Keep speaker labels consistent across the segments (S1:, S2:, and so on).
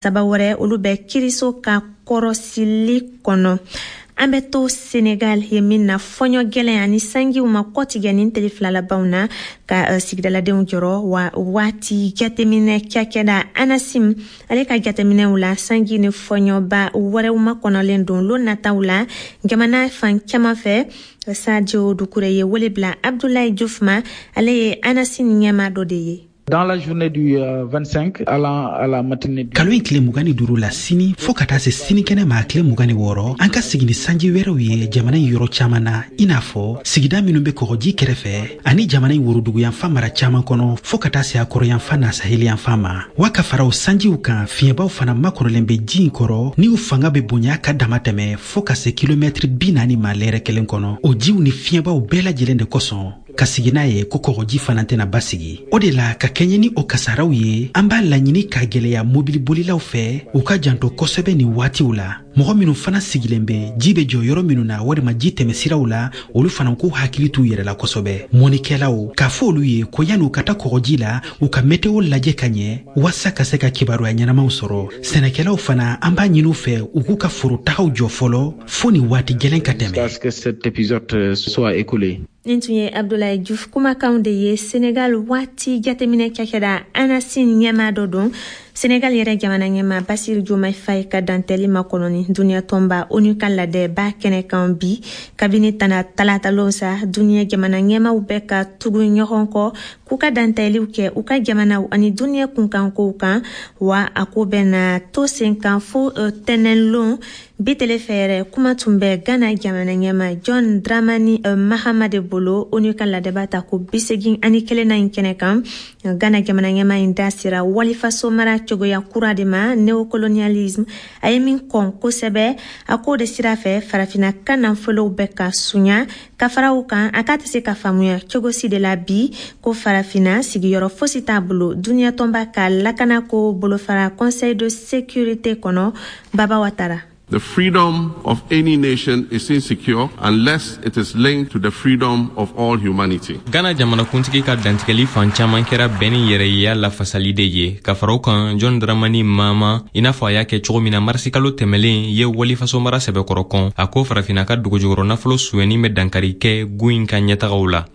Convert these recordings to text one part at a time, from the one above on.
S1: Saba wɛrɛ, olu bɛ kiriso ka kɔrɔsili kɔnɔ. An bɛ to Senegal ye min na, fɔɲɔ gɛlɛn ani sanjiw ma kɔtigɛ nin tile 2 labanw na ka sigidaladenw jɔrɔ. Wa waati jateminɛ cakɛda ANACIM ale ka jateminɛw la, sanji ni fɔɲɔba wɛrɛw makɔnɔlen don lon nataw la jamana fan caman fɛ. Sadio Dukure ye wele bila Abdoulaye Diouf ma, ale ye ANACIM ɲɛmaa dɔ de ye.
S2: Dans la journée du 25 allant à la matinée du
S3: Kalo in tile 25 la, sini fɔɔ ka taa se sinikɛnɛ ma tile 26, an ka sigi ni sanji wɛrɛw ye jamana in yɔrɔ caaman na, i n'a fɔ sigida minw be kɔgɔji kɛrɛfɛ ani jamana in woroduguyanfan mara caaman kɔnɔ, fɔɔ ka taa se a kɔrɔyanfan n'a saheliyanfan ma. Wa ka fara o sanjiw kan, fiɲɛbaw fana makɔrɔlen be ji in kɔrɔ ni u fanga be bonya ka dama tɛmɛ fɔɔ ka se kilomɛtiri 40 ma lɛrɛ kelen kɔnɔ. O jiw ni fiɲɛbaw bɛɛ lajɛlen de kosɔn ka sigi n'a ye ko kɔgɔji fana tɛna basigi. O de la, ka kɛɲɛ ni o kasaraw ye, an b'a laɲini k'a gwɛlɛya mobilibolilaw fɛ u ka janto kosɛbɛ nin waatiw la. Mɔgɔ minw fana sigilen bɛ ji bɛ jɔ yɔrɔ minnu na walima ji tɛmɛsiraw la, olu fana k'u hakili t'u yɛrɛ la kosɛbɛ. Mɔnikɛlaw k'a fɔ olu ye ko yanni u ka taa kɔgɔji la, u ka meteo lajɛ ka ɲɛ waasa ka se ka kibaruya ɲɛnamaw sɔrɔ. Sɛnɛkɛlaw fana, an b'a ɲini u fɛ u k'u ka forotagaw jɔ fɔlɔ fo ni waati gɛlɛn ka tɛmɛ.
S2: Jusqu'à ce que cet épisode soit écoulé.
S1: Nin tun ye Abdoulaye Diouf kumakanw de ye. Senegal waati jateminɛ cakɛda ANACIM ɲɛmaa dɔ don. Senegal yɛrɛ jamana ɲɛmaa Bassirou Diomaye Faye ka dantɛli makɔnɔni duniɲɛ tɔnba ONU ka ladɛba kɛnɛ kan bi. Kabini tana talatalon sa, duniɲɛ jamana ɲɛmaw bɛ ka tugu ɲɔgɔn kɔ k'u ka dantɛliw kɛ u ka jamanaw ani duniɲɛ kunkankow kan. Wa a ko bɛna to sen kan fo tɛnɛnlon. Bi tele fɛ yɛrɛ, kuma tun bɛ Ghana jamana ɲɛma John Dramani Mahama de bolo ONU ka ladɛba ta ko 81nan in kɛnɛ kan. Ghana jamana ɲɛma in da sera walifaso mara cogoya kura de ma, néocolonialisme, a ye min kɔn kosɛbɛ. A k'o de sira fɛ Farafina ka nafolow bɛ ka sunya. Ka fara o kan, a k'a tɛ se ka faamuya cogo si de la bi ko Farafina sigiyɔrɔ fosi t'a bolo duniɲɛ tɔnba ka lakanako bolofara Conseil de sécurité kɔnɔ. Baba Watara.
S4: The freedom of any nation is insecure unless it is linked to the freedom of all humanity.
S5: Ghana jamanakuntigi ka dantigɛli fan caman kɛra bɛn ni yɛrɛyeya lafasali de ye. Ka fara o kan, John Dramani Mahama, i n'a fɔ a y'a kɛ cogo min na marisikalo tɛmɛlen, ye walifaso mara sɛbɛkɔrɔ kɔn. A ko Farafina ka dugujukɔrɔ nafolo sonyɛni bɛ dankari kɛ gun in ka ɲɛtagaw la.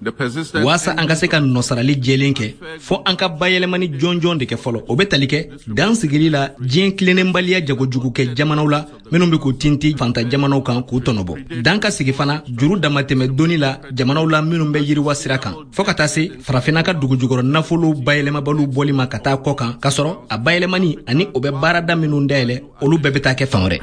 S6: Waasa an ka se ka nɔsarali jɛlen kɛ, fɔ an ka bayɛlɛmani jɔnjɔn de kɛ fɔlɔ. O bɛ tali kɛ dan sigili la diɲɛ tilennenbaliya jagojugu kɛ jamanaw la minnu bɛ k'u tinti fanta jamanaw kan k'u tɔnɔbɔ. Dan ka sigi fana juru damatɛmɛ doni la jamanaw la minnu bɛ yiriwa sira kan, fɔɔ ka taa se Farafinna ka dugujukɔrɔ nafolo bayɛlɛmabaliw bɔli ma ka taa kɔ kan, k'a sɔrɔ a bayɛlɛmani ani o bɛ baarada minnu dayɛlɛ, olu bɛɛ bɛ taa kɛ fan wɛrɛ.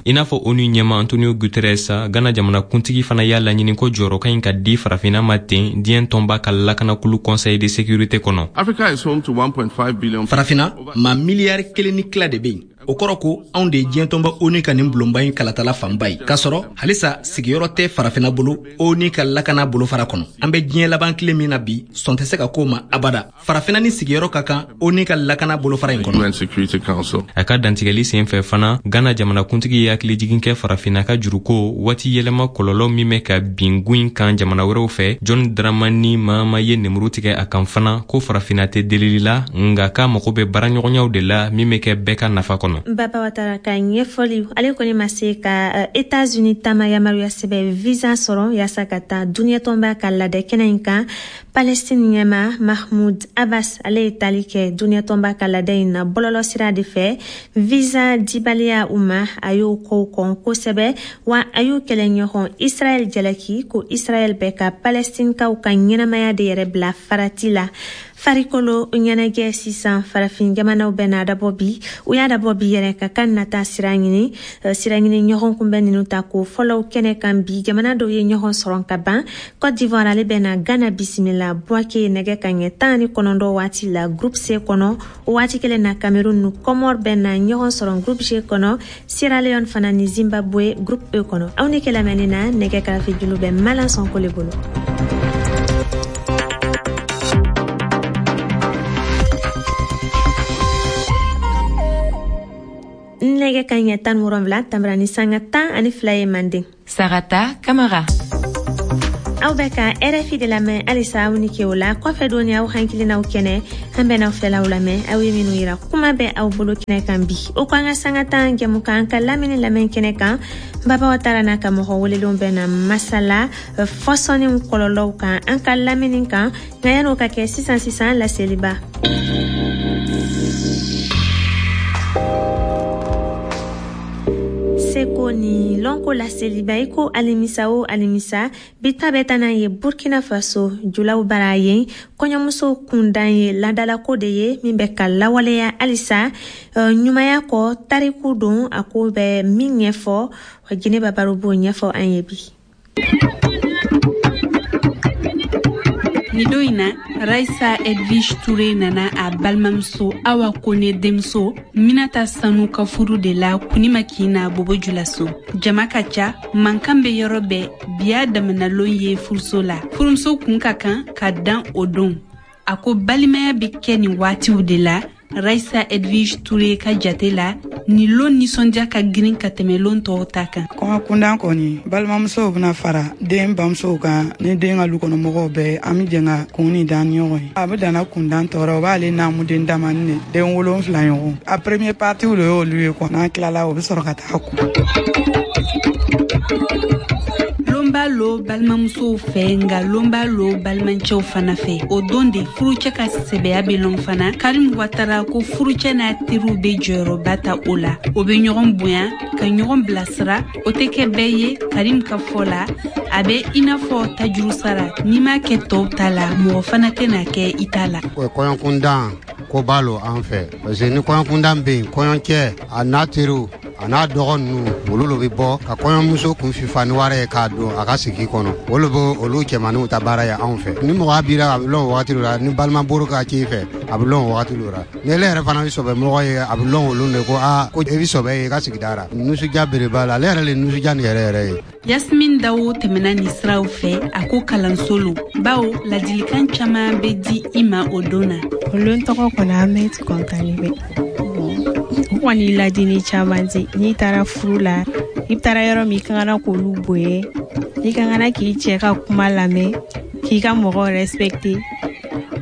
S5: I n'a fɔ ONU ɲɛma Antonio Guterres, Ghana jamanakuntigi fana y'a laɲini ko jɔyɔrɔ ka ɲi ka di Farafinna ma ten diɲɛ tɔnba ka lakanakulu Conseil de sécurité kɔnɔ.
S4: Africa is home to 1.5 billion.
S6: Farafinna, maa miliyari 1.5 de bɛ yen. O kɔrɔ ko anw de ye diɲɛ tɔnba ONU ka nin bulonba in kalatala fanba ye, k'a sɔrɔ halisa sigiyɔrɔ tɛ Farafinna bolo ONU ka lakana bolofara kɔnɔ. An bɛ diɲɛ laban tile min na bi, sɔn tɛ se ka k'o ma abada. Farafinna ni sigiyɔrɔ ka kan ONU ka lakana bolofara in kɔnɔ.
S5: A ka dantigɛli sen fɛ fana, Ghana jamanakuntigi ye hakilijigin kɛ Farafinna ka juruko waati yɛlɛma kɔlɔlɔ min bɛ ka bin gun in kan jamana wɛrɛw fɛ. John Dramani Mahama ye nemuru tigɛ a kan fana ko Farafinna tɛ delili la, nka k'a mago bɛ baaraɲɔgɔnyaw de la min bɛ kɛ bɛɛ ka nafa kɔnɔ.
S1: Baba Watara ka ɲɛfɔli. Ale kɔni ma se ka États-Unis taama yamaruya sɛbɛ visa sɔrɔ yaasa ka taa duniɲɛ tɔnba ka ladɛ kɛnɛ in kan. Palestine ɲɛma Mahmoud Abbas, ale ye tali kɛ duniɲɛ tɔnba ka ladɛ in na bɔlɔlɔ sira de fɛ. Visa dibaliya u ma, a y'o kow kɔn kosɛbɛ. Wa a y'u kɛlɛɲɔgɔn Israɛl jalaki ko Israɛl bɛ ka Palestinekaw ka ɲɛnamaya de yɛrɛ bila farati la. Farikolo ɲɛnajɛ sisan, farafin jamanaw bɛ n'a dabɔ bi, u y'a dabɔ bi yɛrɛ ka kan nata sira ɲini, sira ɲini ɲɔgɔn kunbɛn ninnu ta ko fɔlɔw kɛnɛ kan bi. Jamana dɔw ye ɲɔgɔn sɔrɔ ka ban. Cote d'Ivoire, ale bɛ na Ghana bisimila Bouaké nɛgɛ ka ɲɛ 19 waati la, groupe C kɔnɔ. O waati kelen na, Cameroun ni Comore bɛ na ɲɔgɔn sɔrɔ groupe G kɔnɔ, Sierra Leone fana ni Zimbabwe groupe E kɔnɔ. Aw ni kɛlɛmɛni na, nɛgɛ karafe julu bɛ Malan Sɔnko le bolo. Nɛgɛ ka ɲɛ 17 tanbara ni sanga 12 ye manden.
S7: Sarata Kamara.
S1: Aw bɛ ka RFI de lamɛn halisa. Aw ni ke o la kɔfɛ don aw hakilinaw kɛnɛ, an bɛn'aw fɛlaw lamɛn, aw ye minnu yira. Kuma bɛ aw bolo kɛnɛ kan bi, o ko an ka sanga tan jɛmukan ka lamini lamɛn kɛnɛ kan. Baba Watara n'a ka mɔgɔ welelenw bɛ na masala fɔsɔnniw kɔlɔlɔw kan an ka lamini kan. Nka yan'o ka kɛ, sisan sisan laseliba. Seko ni lɔnko laseliba, i ko alimisa o alimisa, bi ta bɛ taa n'a ye Burkina Faso julaw bara. Yen kɔɲɔmuso kundan ye ladalako de ye min bɛ ka lawaleya halisa ɲumanya kɔ. Tariku don, a ko bɛ min ɲɛfɔ, Jɛnɛba Baro b'o ɲɛfɔ an ye bi.
S7: Ni don in na, Raisa Edwige Ture nana a balimamuso Awa Kone denmuso Minata Sanu ka furu de la Kunima Kina Bobo Julaso. Jama ka ca, mankan bɛ yɔrɔ bɛɛ. Biya damanalon ye furuso la, furumuso kun ka kan ka dan o don. A ko balimaya bɛ kɛ nin waatiw de la. Raisa Edwige Ture ka jate la, nin lon nisɔndiya ka girin ka tɛmɛ lon tɔw ta kan.
S8: Kɔɲɔ kundan kɔni, balimamusow bɛna fara den bamusow kan ni den ka lukɔnɔmɔgɔw bɛɛ. An bɛ jɛn ka kun ni dan ni ɲɔgɔn ye. A bɛ danna kundan tɔɔrɔ, o b'ale naamuden damani de, den 7 ɲɔgɔn. A premier partie de y'olu ye quoi. N'an tilala, o bɛ sɔrɔ ka taa kun.
S7: Lon b'a lo balimamusow fɛ, nka lon b'a lo balimacɛw fana fɛ. O don de furucɛ ka sɛbɛya bɛ lɔn fana. Karim Watara ko furucɛ n'a teriw bɛ jɔyɔrɔba ta o la. O bɛ ɲɔgɔn bonya ka ɲɔgɔn bilasira. O tɛ kɛ bɛɛ ye. Karim ka fɔ la, a bɛ i n'a fɔ tajuru sara, n'i m'a kɛ tɔw ta la, mɔgɔ fana tɛna kɛ i ta la.
S9: Kɔɲɔkundan ko b'a lo an fɛ, parce que ni kɔɲɔkundan bɛ yen, kɔɲɔcɛ a n'a teriw a n'a dɔgɔ ninnu, olu lo bɛ bɔ ka kɔɲɔmuso kun fifa ni wari ye k'a don a ka sigi kɔnɔ. Olu bɛ olu cɛmaninw ta baara ye anw fɛ. Ni mɔgɔ bira, a bɛ lɔn o wagati la. Ni balima boro ka ci fɛ, a bɛ lɔn o wagati la. Ni ele yɛrɛ fana bɛ sɔbɛ mɔgɔ ye, a bɛ lɔn olu de ko aa, ko e bɛ sɔbɛ ye i ka sigida la. Nisɔndiya belebele la, ale yɛrɛ le nisɔndiya nin yɛrɛ yɛrɛ ye.
S7: Yasmin Dawo tɛmɛna nin siraw fɛ. A ko kalanso lo, bawo ladilikan caman bɛ di i ma o don na.
S10: O lon tɔgɔ kɔni, an bɛ kɔntani bɛ o kɔni ladili caman di. N'i taara furu la, i taara yɔrɔ min, i ka kan k'olu bonya, i ka kan k'i cɛ ka kuma lamɛn, k'i ka mɔgɔw respecter.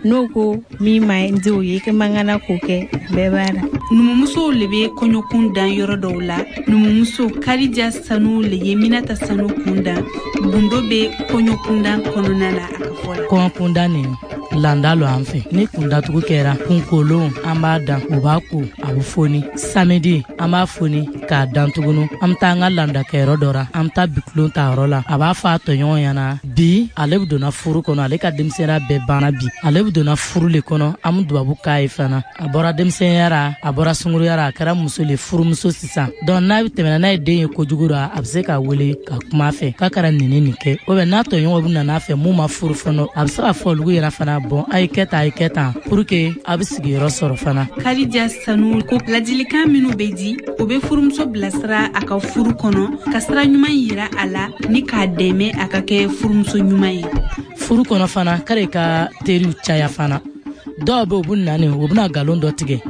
S10: N'o ko min ma di o ye, i man kan k'o kɛ. Bɛɛ b'a la.
S7: Numumusow le bɛ kɔɲɔkun dan yɔrɔ dɔw la. Numumuso Karija Sanu le ye Minata Sanu kun dan. Gundo bɛ kɔɲɔkundan kɔnɔna na, a ka fɔ la.
S11: Kɔɲɔkundan nin landa lo an fɛ. Ni kundatugu kɛra, kunkolon an b'a dan, o b'a ko, a bɛ foni. Samedi an b'a foni k'a dan tugunu. An bɛ taa an ka landakɛyɔrɔ dɔ ra, an bɛ taa bikulon ta yɔrɔ la. A b'a fɔ a tɔɲɔgɔn ɲɛna bi, ale bɛ donna furu kɔnɔ, ale ka denmisɛnninya bɛɛ banna bi, ale bɛ donna furu le kɔnɔ. An bɛ dubabu k'a ye fana. A bɔra denmisɛnninya ra, a bɔra sunkuruya ra, a kɛra muso le, furumuso sisan. Donc n'a tɛmɛna n'a ye den ye kojugu ra, a bɛ se ka wele ka kuma a fɛ k'a kɛra nin ni nin kɛ. O bɛ n'a tɔɲɔgɔnw bɛ na n'a fɛ mun ma furu fɔlɔ, a bɛ se ka fɔ olu yɛrɛ fana, bɔn, a ye kɛ tan, a ye kɛ tan, pour que a bɛ sigiyɔrɔ sɔrɔ fana.
S7: Karija Sanu ko ladilikan minnu bɛ di, o bɛ furumuso bilasira a ka furu kɔnɔ, ka sira ɲuman yira a la ni k'a dɛmɛ a ka kɛ furumuso ɲuman ye.
S11: Furu kɔnɔ fana, k'ale ka teriw caya fana. Dɔw bɛ, u bɛ na nin, u bɛna nkalon dɔ tigɛ.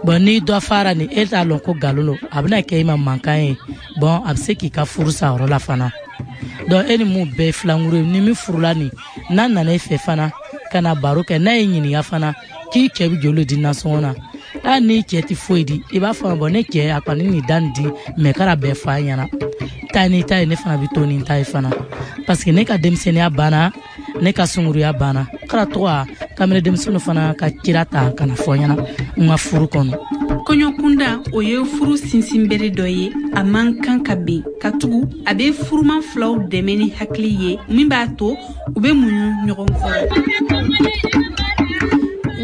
S11: Bɔn, ni dɔ fara nin, e t'a lɔn ko nkalon don, a bɛna kɛ i ma mankan ye. Bɔn, a bɛ se k'i ka furu sa yɔrɔ la fana. Donc e ni mun bɛɛ ye filankuru ye, ni min furula nin, n'a nana e fɛ fana ka na baro kɛ, n'a ye ɲininka fana k'i cɛ bɛ joli di nasɔngɔ na, hali n'i cɛ tɛ foyi di, i b'a fɔ bɔn, ne cɛ a kɔni nin da nin di mɛ, kɛra bɛɛ fɔ a ɲɛna, taa n'i ta ye, ne fana bɛ to ni ta ye fana, parce que ne ka denmisɛnninya banna, ne ka sunkuruya banna. Kɛra tɔgɔ kamalen denmisɛnninw fana ka kira ta ka na fɔ ɲɛna n ka furu kɔnɔ.
S7: Kɔɲɔkunda, o ye furu sinsinbere dɔ ye, a man kan ka ben, katugu a bɛ furuman filaw dɛmɛ ni hakili ye min b'a to u bɛ muɲu ɲɔgɔn kɔrɔ.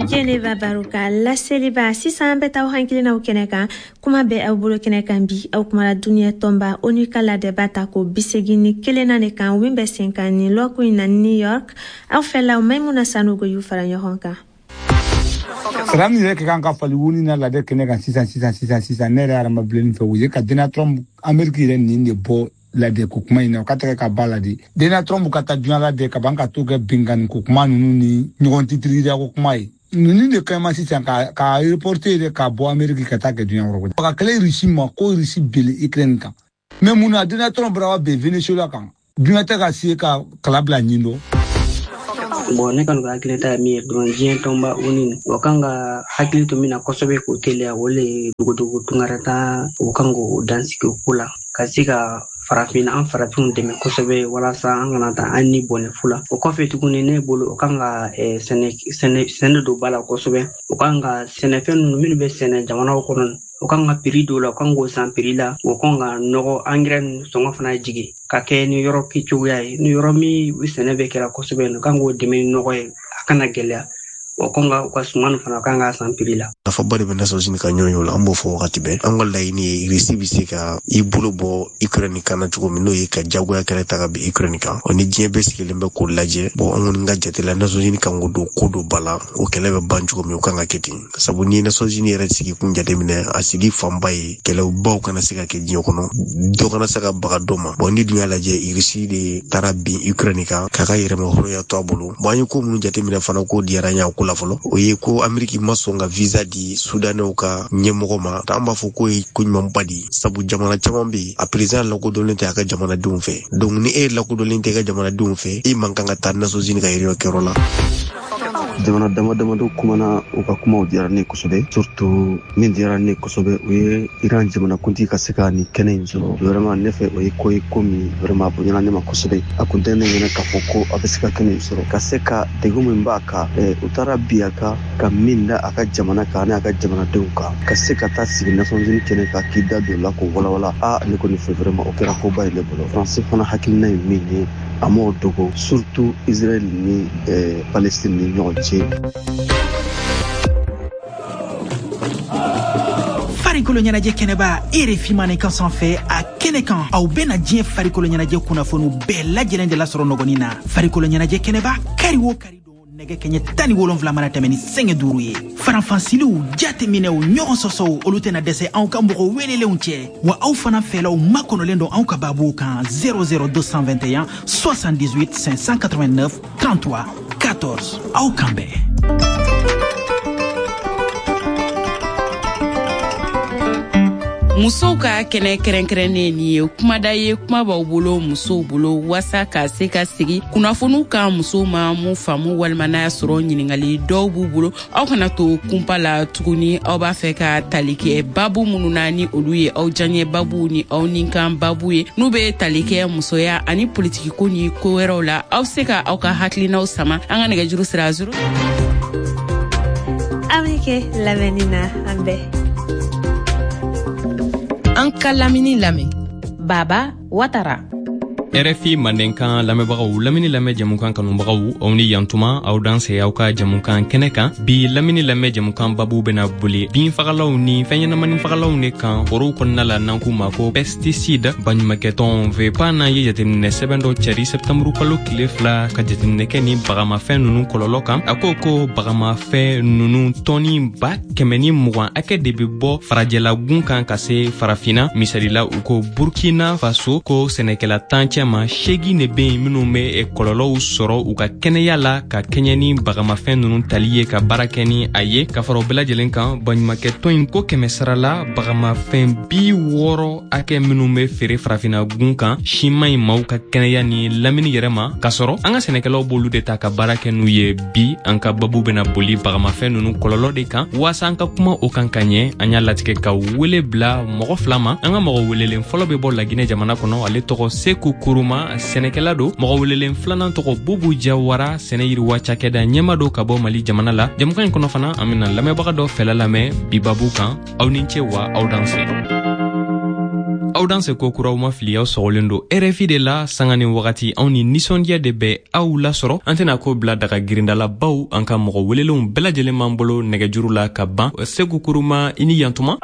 S1: Jɛnɛba Baro ka laseliba. Sisan an bɛ taa aw hakilinaw kɛnɛ kan. Kuma bɛ aw bolo kɛnɛ kan bi, aw kumara duniɲɛ tɔnba ONU ka ladɛba ta ko 81nan de kan, min bɛ sen kan nin lɔkun in na New York. Aw fɛlaw, Maimuna Sanogo y'u fara ɲɔgɔn kan.
S12: Sara min yɛrɛ ka kan ka fali wuni na ladɛ kɛnɛ kan sisan sisan sisan sisan, ne yɛrɛ hadama bilenni fɛ, o ye ka Donald Trump, Amérique yɛrɛ nin de bɔ ladɛ ko kuma in na, o ka tɛgɛ ka ba la de. Donald Trump ka taa diɲɛ ladɛ ka ban ka to kɛ binkanni ko kuma ninnu ni ɲɔgɔn titirida ko kuma ye ninnu de ka ɲi sisan ka reporter yɛrɛ ka bɔ Amérique ka taa kɛ diɲɛ yɔrɔ wɛrɛ. Ka kɛlɛ Russie ma ko Russie bele Ukraine kan, mais mun na Donald Trump bɔra ben Venezuela kan? Duɲa tɛ ka se ka kala bila ɲin dɔ.
S13: Bon, ne kɔni ka hakilinata ye min ye dɔrɔn, diɲɛ tɔnba ONU, o kan ka hakili to min na kosɛbɛ k'o teliya, o le ye dogodogo tunkarata, o kan k'o dansigi o ko la, ka se ka farafin, an farafinw dɛmɛ kosɛbɛ, walasa an kana taa an ni bɔnɛ fu la. O kɔfɛ tuguni, ne bolo, o kan ka sɛnɛ don ba la kosɛbɛ. O kan ka sɛnɛfɛn ninnu minnu bɛ sɛnɛ jamanaw kɔnɔ, o kan ka prix dɔw la, o kan k'o san prix la. O kan ka nɔgɔ, angɛrɛ ninnu sɔngɔ fana jigin ka kɛ ni yɔrɔ kɛcogoya ye, ni yɔrɔ min sɛnɛ bɛ kɛra kosɛbɛ, o kan k'o dɛmɛ ni nɔgɔ ye, a kana gɛlɛya. O kan ka u ka suman fana kan ka san prix la.
S14: Nafaba de bɛ Nations Unies ka ɲɔgɔn ye o la. An b'o fɔ wagati bɛɛ. An ka laɲini ye, Russie bɛ se ka i bolo bɔ Ukraine kan na cogo min, n'o ye ka jagoya kɛlɛ ta ka bin Ukraine kan. O ni diɲɛ bɛɛ sigilen bɛ k'o lajɛ. Bon, an kɔni ka jate la, Nations Unies kan k'o don ko dɔ ba la. O kɛlɛ bɛ ban cogo min, o kan ka kɛ ten, sabu ni Nations Unies yɛrɛ sigi kun jateminɛ, a sigi fanba ye kɛlɛbaw kana se ka kɛ diɲɛ kɔnɔ, dɔ kana se ka baga dɔ ma. Bon, ni dun y'a lajɛ, Russie de taara bin Ukraine kan k'a ka yɛrɛmahɔrɔnya to a bolo. Bon, an ye ko minnu jateminɛ fana, ko diyara an ye a ko la fɔlɔ, o ye ko Ameriki ma sɔn ka visa di Sudanɛw ka ɲɛmɔgɔ ma. An b'a fɔ k'o ye ko ɲumanba de ye, sabu jamana caman bɛ yen, a président lakodɔnlen tɛ a ka jamanadenw fɛ. Donc ni e lakodɔnlen tɛ i ka jamanadenw fɛ, e man kan ka taa Nations Unies ka réunion kɛyɔrɔ la.
S15: Jamana dama damadɔ kumana, u ka kumaw diyara ne kosɛbɛ. Surtout min diyara ne kosɛbɛ, o ye Iran jamanakuntigi ka se ka nin kɛnɛ in sɔrɔ. Vraiment, ne fɛ, o ye ko ye, ko min vraiment a bonyana ne ma kosɛbɛ. A kun tɛ ne ɲɛna k'a fɔ ko a bɛ se ka kɛnɛ in sɔrɔ, ka se ka degun min b'a kan, u taara bi a kan ka min da a ka jamana kan ani a ka jamanadenw kan, ka se ka taa sigi Nations Unies kɛnɛ kan k'i da don la k'o walawala, a ne kɔni fɛ, vraiment o kɛra koba ye ne bolo. Faransi fana hakilina ye min ye, a m'o dogo, surtout Israël ni Palestine ni ɲɔgɔn cɛ.
S3: Farikolo ɲɛnajɛ kɛnɛba RFI Mandenkan sanfɛ, a kɛnɛ kan, aw bɛna diɲɛ farikolo ɲɛnajɛ kunnafoniw bɛɛ lajɛlen de lasɔrɔ nɔgɔnin na. Farikolo ɲɛnajɛ kɛnɛba, kari o kari don, nɛgɛ kɛɲɛ 17 mana tɛmɛ ni sɛgɛ 5 ye. Faranfansiliw, jateminɛw, ɲɔgɔn sɔsɔw, olu tɛna dɛsɛ anw ka mɔgɔ welelenw cɛ. Wa aw fana fɛlaw makɔnɔlen don anw ka baabuw kan 00221 78 589 33 14. Aw kan bɛn.
S16: Musow ka kɛnɛ kɛrɛnkɛrɛnnen, nin ye kumada ye, kuma b'aw bolo, musow bolo, waasa ka se ka sigi kunnafoniw kan musow ma mun faamu, walima n'a y'a sɔrɔ ɲiningali dɔw b'u bolo. Aw kana to kunpa la tuguni. Aw b'a fɛ ka tali kɛ babu minnu na, ni olu ye aw diyaɲɛ babu ni aw ninkan babu ye, n'u bɛ tali kɛ musoya ani politikiko ni ko wɛrɛw la, aw se ka aw ka hakilinaw sama an ka nɛgɛjuru sira 0.
S1: Aw ni kɛ lamɛnni na, an bɛɛ.
S17: An ka lamini lamɛn, Baba Watara.
S5: RFI Mandenkan lamɛnbagaw, lamini lamɛn jamukan kanubagaw, aw ni yantuma, aw danse aw ka jamukan kɛnɛ kan. Bi lamini lamɛn jamukan babu bena boli binfagalaw ni fɛnɲɛnamani fagalaw de kan forow kɔnɔna la, n'an k'u ma ko pesticide. Baɲumakɛtɔn VEPAN ye jateminɛ sɛbɛn dɔ cari sɛptanburu kalo tile 2 ka jateminɛ kɛ ni bagamafɛn nunu kɔlɔlɔ kan. A ko ko bagamafɛn nunu tɔni 120 hakɛ de be bɔ farajɛlagun kan ka se farafinna. Misalila, u ko Burkina Faso, ko sɛnɛkɛla 10 cɛ ma, 8 de be yen minnu bɛ kɔlɔlɔw sɔrɔ u ka kɛnɛya la ka kɛɲɛ ni bagamafɛn nunu tali ye ka baara kɛ ni a ye. Ka fara o bɛɛ lajɛlen kan, baɲumakɛtɔn in ko 100 sara la, bagamafɛn 60 hakɛ minnu bɛ feere farafinna gun kan, siman in maaw ka kɛnɛya ni lamini yɛrɛ ma, k'a sɔrɔ an ka sɛnɛkɛlaw b'olu de ta ka baara kɛ n'u ye. Bi an ka babu bɛna boli bagamafɛn nunu kɔlɔlɔ de kan. Waasa an ka kuma o kan ka ɲɛ, an y'a latigɛ ka wele bila mɔgɔ 2 ma. An ka mɔgɔ welelen fɔlɔ bɛ bɔ Laginɛ jamana kɔnɔ, ale tɔgɔ Seku Kuruma, sɛnɛkɛla don. Mɔgɔ welelen filanan tɔgɔ Bubu Jawara, sɛnɛ yiriwa cakɛda ɲɛma don ka bɔ Mali jamana la. Jamukan in kɔnɔ fana, an bɛna lamɛnbaga dɔ fɛla lamɛn bi babu kan. Aw ni ce wa aw danse. Aw danse ko kuraw ma fili, aw sɔgɔlen don RFI de la sanga ni wagati. Anw ni nisɔndiya de bɛ aw lasɔrɔ. An tɛna ko bila daga girindalabaw, an ka mɔgɔ welelenw bɛɛ lajɛlen b'an bolo nɛgɛjuru la ka ban. Seku Kuruma, i ni yantuma.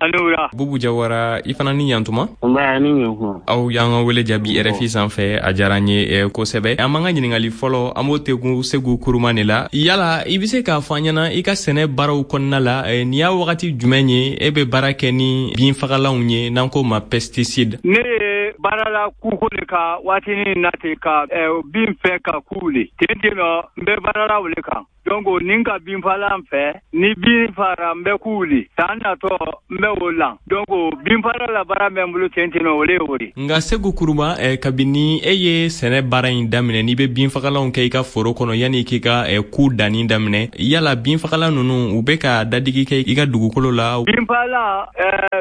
S5: Bubu Jawara, i fana ni yantuma. Aw y'an ka wele jaabi RFI sanfɛ, a diyara an ye kosɛbɛ. An b'an ka ɲininkali fɔlɔ, an b'o tegun Seku Kuruma de la. Yala i bɛ se k'a fɔ an ɲɛna, i ka sɛnɛ baaraw kɔnɔna la, nin y'a wagati jumɛn ye e bɛ baara kɛ ni binfagalanw ye, n'an k'o ma pesticide?
S18: Ne ye baara la kuko le ka waatinin na ten ka bin fɛ ka ku le ten ten nɔ, n bɛ baara la o le kan. Donc ni ka binfagalan fɛ, ni bin fara n bɛ ku wuli, san natɔ n bɛ o lan. Donc binfagalan la baara bɛ n bolo ten ten, o le ye o de.
S5: Nka Segu Kuruma, kabini e ye sɛnɛ baara in daminɛ, n'i bɛ binfagalanw kɛ i ka foro kɔnɔ yanni k'i ka ku danni daminɛ, yala binfagalan ninnu u bɛ ka dadigi kɛ i ka dugukolo la?
S18: Binfagalan,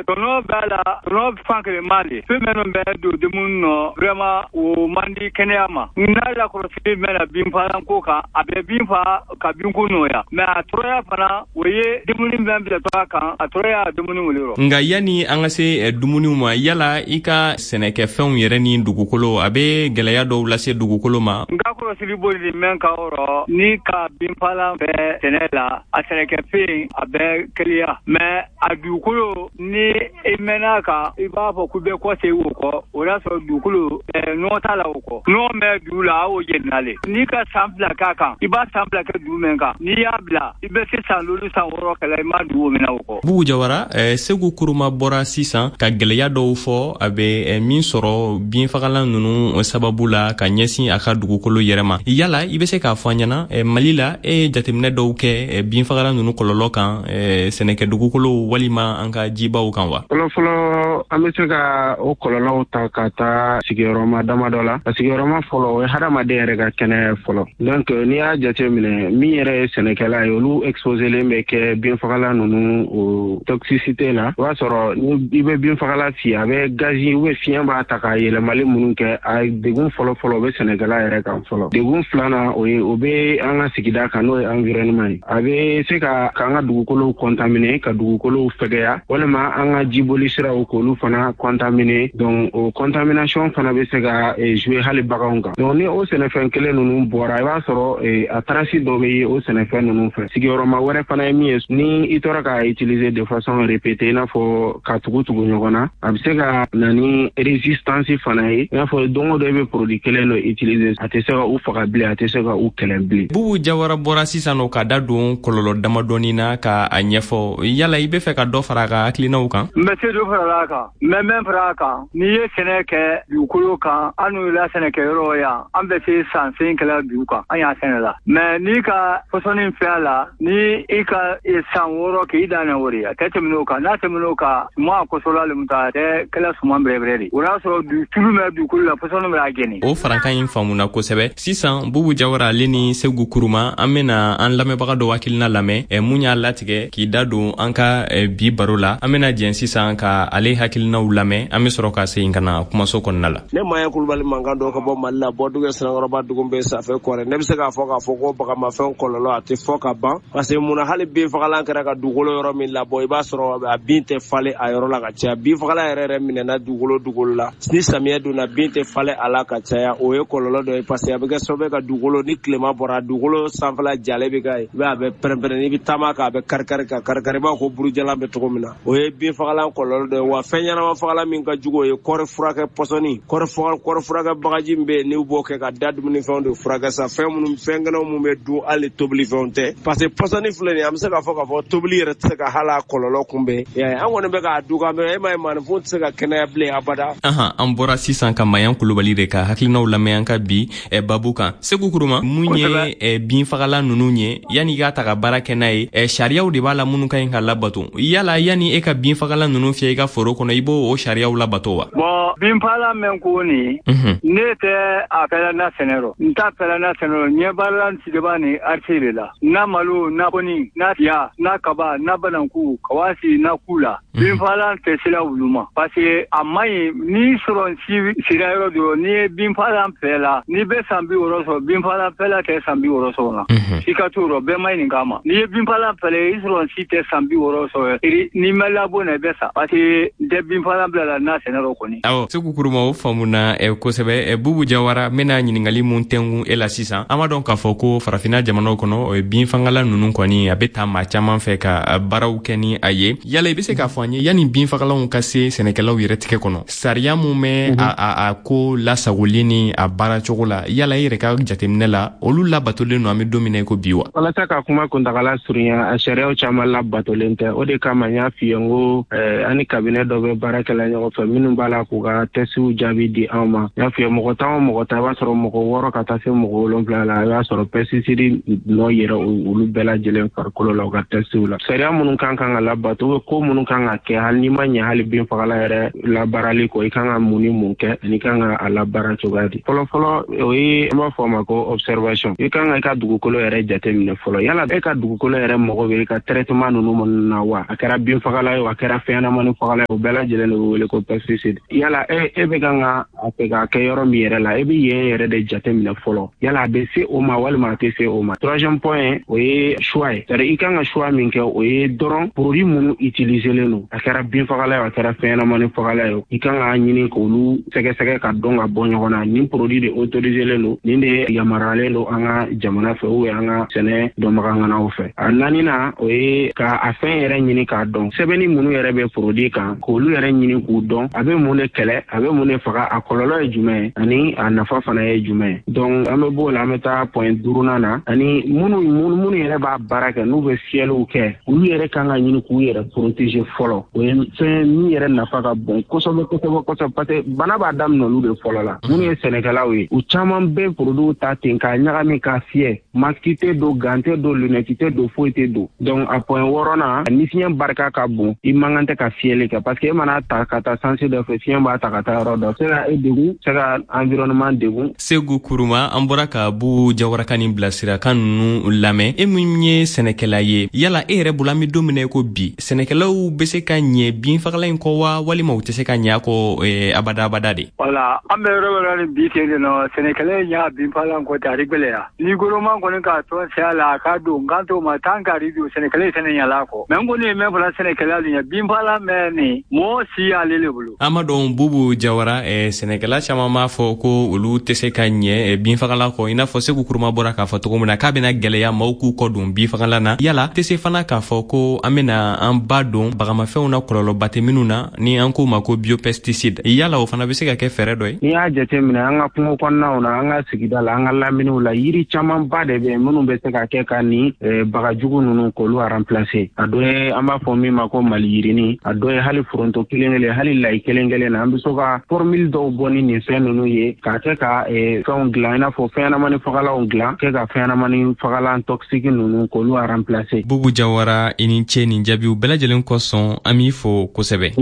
S18: tɔnɔ b'a la, tɔnɔ fan kelen ma le. Fɛn minnu bɛ don dumuni nɔ, vraiment o man di kɛnɛya ma. N'a lakɔlɔsili mɛnna binfagalan ko kan, a bɛ bin fa ka binko nɔgɔya, mais a tɔɔrɔya fana, o ye dumuni bɛɛ bilatɔ a kan, a tɔɔrɔya dumuni wuli rɔ.
S5: Nka yanni an ka se dumuniw ma, yala i ka sɛnɛkɛfɛnw yɛrɛ ni dugukolo, a bɛ gɛlɛya dɔw lase dugukolo ma?
S18: N ka kɔlɔsili boli mɛn ka yɔrɔ, ni ka binfagalan bɛ sɛnɛ la, a sɛnɛkɛfɛn a bɛ kɛlɛya, mais a dugukolo, ni i mɛnna kan, i b'a fɔ k'u bɛ kɔ segin o kɔ, o y'a sɔrɔ dugukolo nɔgɔ t'a la o kɔ. Nɔgɔ bɛ dugu la, a y'o jenina le. N'i ka san 2 k'a kan, i b'a san 2 kɛ dugu min kan, n'i y'a bila, i bɛ se san 5 san 6 kɛla, i ma dugu minɛ o kɔ.
S5: Bubu Jawara, Segu Kuruma bɔra sisan ka gɛlɛya dɔw fɔ a bɛ min sɔrɔ binfagalan ninnu sababu la ka ɲɛsin a ka dugukolo yɛrɛ ma. Yala i bɛ se k'a fɔ an ɲɛna, Mali la, e ye jateminɛ dɔw kɛ binfagalan ninnu kɔlɔlɔ kan sɛnɛkɛ dugukolo walima an ka jibaw kan wa?
S19: Fɔlɔfɔlɔ, an bɛ se ka o kɔlɔlɔw ta ka taa sigiyɔrɔma damadɔ la. A sigiyɔrɔma fɔlɔ, o ye hadamaden yɛrɛ ka kɛnɛya fɔlɔ. Donc n'i y'a jate minɛ, min yɛrɛ ye sɛnɛkɛla ye, olu exposélen bɛ kɛ binfagalan ninnu o toxicité la. O b'a sɔrɔ ni i bɛ binfagalan fiyɛ, a bɛ gazi ou bien fiɲɛ b'a ta ka yɛlɛmali minnu kɛ, a degun fɔlɔ-fɔlɔ o bɛ sɛnɛkɛla yɛrɛ kan fɔlɔ. Degun filanan, o ye o bɛ an ka sigida kan, n'o ye environnement ye. A bɛ se ka k'an ka dugukolow contaminer, ka dugukolow fɛgɛya, walima an ka jiboli siraw k'olu fana contaminer. Donc o contamination fana bɛ se ka jouer hali baganw kan. Donc ni o sɛnɛfɛn kelen ninnu bɔra, i b'a sɔrɔ a trace dɔ bɛ ye o sɛnɛfɛn ninnu fɛ. Sigiyɔrɔma wɛrɛ fana ye min ye, ni i tora k'a utiliser de façon répétée, i n'a fɔ ka tugu tugu ɲɔgɔn na, a bɛ se ka na ni résistance fana ye, i n'a fɔ don o don i bɛ produit kelen dɔ utiliser, a tɛ se ka u faga bilen, a tɛ se ka u kɛlɛ bilen.
S5: Bubu Jawara bɔra sisan nɔ ka da don kɔlɔlɔ damadɔni na ka a ɲɛfɔ. Yala i bɛ fɛ ka dɔ fara a ka hakilinaw kan?
S18: N bɛ se dɔ fara a kan, n bɛ mɛn fara a kan. N'i ye sɛnɛ kɛ dugukolo kan, an n'u la sɛnɛkɛyɔrɔ yan, an bɛ se san sen kɛla dugu kan, an y'a sɛnɛ la. Mais n'i ka pɔsɔni fɛ a la, ni i ka san 6 k'i dan o de, a tɛ tɛmɛ o kan. N'a tɛmɛ o kan, suman kɔsɔla le ta, a tɛ kɛla suman bɛrɛbɛrɛ de. O y'a sɔrɔ tulu bɛ dugukolo la, pɔsɔni bɛ a jɛni.
S5: O farankan in faamuna kosɛbɛ. Sisan Bubu Jawara ale ni Segu Kuruma, an bɛna an lamɛnbaga dɔw hakilina lamɛn mun y'a latigɛ k'i da don an ka bi baro la. An bɛna jɛn sisan ka ale hakilinaw lamɛn, an bɛ sɔrɔ ka segin ka na kumaso kɔnɔna la.
S20: Ne Maya Kulubali mankan dɔ ka bɔ Mali la, Bɔdugu Sinankɔrɔba dugu bɛ Safɛ Kɔrɛ. Ne bɛ se k'a fɔ ko bagamafɛn kɔlɔlɔ a tɛ fɔ ka ban, parce que munna hali binfagalan kɛra ka dugukolo yɔrɔ min labɔ, i b'a sɔrɔ a bin tɛ falen a yɔrɔ la ka caya. Binfagalan yɛrɛ minɛna dugukolo la, ni samiyɛ donna, bin tɛ falen a la ka caya. O ye kɔlɔlɔ dɔ ye, parce que a bɛ kɛ sababu ye ka dugukolo, ni tilema bɔra, dugukolo sanfɛla jalen bɛ kɛ ye, i b'a ye a bɛ pɛrɛn-pɛrɛn, n'i bɛ taama kan a bɛ kari-kari ka kari-kari, i b'a fɔ ko burujalan bɛ cogo min na. O ye binfagalan kɔlɔlɔ dɔ ye. Wa fɛn ɲɛnama fagalan min ka jugu, o ye kɔɔri furakɛ pɔsɔni, kɔɔri furakɛ bagaji min bɛ yen, n'u b'o kɛ ka da dumunifɛnw de furakɛ sa, fɛn minnu, fɛn kɛnɛw minnu bɛ dun, hali tobilifɛnw tɛ, parce que pɔsɔni filɛ nin ye, an bɛ se k'a fɔ tobili yɛrɛ tɛ se ka hali a kɔlɔlɔ kunbɛn. An kɔni bɛ k'a dun, ka e m'a ye, maaninfin tɛ se ka kɛnɛya bilen abada.
S5: An bɔra sisan ka Mayan Kulubali de ka hakilinaw lamɛn an ka bi babu kan. Segu Kuruma, mun ye binfagalan ninnu ye, yanni i k'a ta ka baara kɛ n'a ye, sariyaw de b'a la minnu ka ɲi ka labato. Yala yanni e ka binfagalan ninnu fiyɛ i ka foro kɔnɔ, i b'o o sariyaw labato wa?
S18: Bon, binfagalan mɛn ko nin, ne tɛ a fɛla na sɛnɛ rɔ, n t'a fɛla na sɛnɛ rɔ. Ɲɛ baarala sigibaa ni arisi de la, na malo, na kɔni, na tiya, na kaba, na bananku, kawasi, na ku la. Binfagalan tɛ sira wulu ma, parce que a man ɲi. N'i sɔrɔ si sira yɔrɔ dɔ, n'i ye binfagalan fɛ la, n'i bɛ san 60 sɔrɔ, binfagalan fɛla tɛ san 60 sɔrɔ na. I ka t'o rɔ, bɛɛ ma ɲininka a ma. N'i ye binfagalan fɛlɛ, i sɔrɔ si tɛ san 60 sɔrɔ, n'i ma labɔ na, i bɛ sa, parce que n tɛ binfagalan bila la n'a sɛnɛ rɔ kɔni.
S5: Awɔ, Segu Kuruma, o faamuna kosɛbɛ. Bubu Jawara, n bɛna ɲininkali mun tɛngun e la sisan. An b'a dɔn k'a fɔ ko farafinna jamanaw kɔnɔ, binfagalan ninnu kɔni a bɛ taa maa caman fɛ ka baaraw kɛ ni a ye. Yala i bɛ se k'a fɔ an ye, yanni binfagalanw ka se sɛnɛkɛlaw yɛrɛ tigɛ kɔnɔ, sariya mun bɛ a ko lasagoli ni a baara cogo la, yala i yɛrɛ ka jateminɛ la, olu labatolen don an bɛ don min na i ko bi wa?
S19: Walasa ka kuma kuntagala surunya, a sariyaw caman labatolen tɛ. O de kama n y'a f'i ye n ko an ni cabinet dɔ bɛ baara kɛla ɲɔgɔn fɛ minnu b'a la k'u ka testiw jaabi di anw ma. N y'a f'i ye, mɔgɔ 10 o mɔgɔ 10, i b'a sɔrɔ mɔgɔ 6 ka taa se mɔgɔ 7 la, i b'a sɔrɔ pesticide nɔ yɛrɛ olu bɛɛ lajɛlen farikolo la u ka testiw la. Sariya minnu kan ka labato ou ko minnu kan ka kɛ, hali n'i ma ɲɛ hali binfagalan yɛrɛ labaarali kɔ, i kan ka mun ni mun kɛ ani i kan ka a labaara cogoya di. Fɔlɔfɔlɔ, o ye an b'a fɔ a ma ko observation. I kan ka i ka dugukolo yɛrɛ jateminɛ fɔlɔ, yala e ka dugukolo yɛrɛ mago bɛ i ka traitement ninnu minnu na wa, a kɛra binfagalan ye o, a kɛra fɛnɲɛnamani fagalan ye, o bɛɛ lajɛlen de bɛ wele ko pesticide. Yala e bɛ kan ka a fɛ k'a kɛ yɔrɔ min yɛrɛ la, e bɛ yen yɛrɛ de jateminɛ fɔlɔ, yala a bɛ se o ma walima a tɛ se o ma. Troisième point, o ye choix ye, c'est à dire i kan ka choix min kɛ, o ye dɔrɔn produit minnu utiliselen don, a kɛra binfagalan ye, a kɛra fɛnɲɛnamani fagalan ye, i kan k'a ɲini k'olu sɛgɛsɛgɛ ka dɔn ka bɔ ɲɔgɔn na, nin produit de autoriselen don, nin de yamaruyalen don an ka jamana fɛ ou an ka sɛnɛ dɔnbagaŋanaw fɛ. A naaninan, o ye ka a fɛn yɛrɛ ɲini k'a dɔn, sɛbɛnni minnu yɛrɛ bɛ produit kan, k'olu yɛrɛ ɲini k'u dɔn, a bɛ mun de kɛlɛ, a bɛ mun de faga, a kɔlɔlɔ ye jumɛn ye ani a nafa fana ye jumɛn ye. Donc an bɛ b'o la, an bɛ taa point duurunan na, ani minnu yɛrɛ b'a baara kɛ, n'u bɛ fiyɛliw kɛ, olu yɛrɛ kan ka ɲini k'u yɛrɛ protéger fɔlɔ. O ye fɛn min yɛrɛ nafa ka bon kosɛbɛ kosɛbɛ kosɛbɛ, parce que bana b'a daminɛ olu de fɔlɔ la. Minnu ye sɛnɛkɛlaw ye, u caman bɛ produit ta ten k'a ɲagami k'a fiyɛ, masque tɛ don, gant tɛ don, lunette tɛ don, foyi tɛ don. Donc a point wɔɔrɔnan, ni fiɲɛ barika ka bon, i man kan tɛ ka fiyɛli kɛ, parce que e mana ta ka taa sens dɔ fɛ, fiɲɛ b'a ta ka taa yɔrɔ dɔ, se ka e degun, se ka environnement degun.
S5: Segu Kuruma, an bɔra ka Bubu Jawara ka nin bilasirakan ninnu lamɛn. E min ye sɛnɛkɛla ye, yala e yɛrɛ bolo, an bɛ don min na i ko bi, sɛnɛkɛlaw bɛ se ka ɲɛ binfagalan in kɔ wa, walima u tɛ se ka ɲɛ a kɔ abada abada de?
S18: Wala an bɛ yɔrɔ wɛrɛ ni bi ten de nɔ, sɛnɛkɛla ye ɲa binfagalan kɔ tɛ, a gbɛlɛya ni gouvernement kɔni k'a tɔn sɛya la, a ka don kan to ma tan k'ari don, sɛnɛkɛla ye sɛnɛ ɲala kɔ. Mɛ n kɔni ye mɛn fɔla sɛnɛkɛla ɲɛ, binfagalan mɛn nin mɔgɔ si y'ale le bolo.
S5: An b'a dɔn, Bubu Jawara, sɛnɛkɛla caman b'a fɔ ko olu tɛ se ka ɲɛ binfagalan kɔ, i n'a fɔ Segu Kuruma bɔra k'a fɔ cogo min na k'a bɛna gɛlɛya maaw k'u kɔ don binfagalan na. Yala tɛ se fana k'a fɔ ko an bɛna an ba don bagamafɛnw na kɔlɔlɔba tɛ minnu na, ni an k'o ma ko biopesticide, yala o fana bɛ se ka kɛ fɛɛrɛ dɔ ye?
S19: N'i y'a jateminɛ an ka kungo kɔnɔnaw na, an ka sigida la, an ka laminiw la, yiri camanba de bɛ yen minnu bɛ se ka kɛ ka nin bagajugu ninnu k'olu remplacer. A dɔ ye an b'a fɔ min ma ko maliyirini, a dɔ ye hali foronto kelen kelen, hali layi kelen kelen na, an bɛ se ka formule dɔw bɔ ni nin fɛn ninnu ye k'a kɛ ka fɛnw dilan, i n'a fɔ fɛnɲɛnamani fagalanw dilan, kɛ ka fɛnɲɛnamani fagalan toxique ninnu k'olu remplacer.
S5: Bubu Jawara, i ni ce nin jaabiw bɛɛ lajɛlen kosɔn, an b'i fo kosɛbɛ.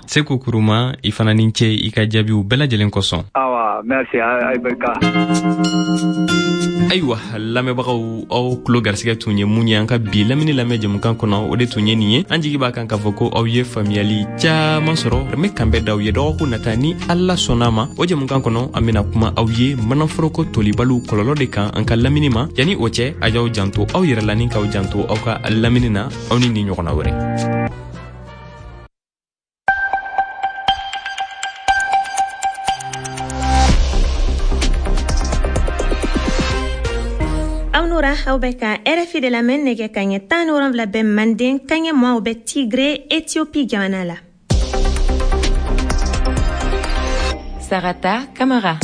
S5: Segu Kuruma, i fana ni ce i ka jaabiw bɛɛ lajɛlen kosɔn.
S18: Awa, merci, ayi barika.
S5: Ayiwa lamɛnbagaw, aw tulo garisigɛ tun ye mun ye an ka bi lamini lamɛn jɛmukan kɔnɔ, o de tun ye nin ye. An jigi b'a kan k'a fɔ ko aw ye faamuyali caaman sɔrɔ. An bɛ kanbɛn d'aw ye dɔgɔkun nata ni Ala sɔnna ma. O jɛmukan kɔnɔ, an bena kuma aw ye manaforoko tolibaliw kɔlɔlɔ de kan an ka lamini ma. Yanni o cɛ, a y'aw janto aw yɛrɛ la ni k'aw janto aw ka lamini na. Aw ni nin ɲɔgɔnna wɛrɛ.
S1: Aw nora, aw bɛ ka RFI de lamɛn. Nɛgɛ kaɲɛ 17 bɛ Manden, kaɲɛ 20 bɛ Tigre, Ethiopie jamana la.
S17: Sarata Kamara.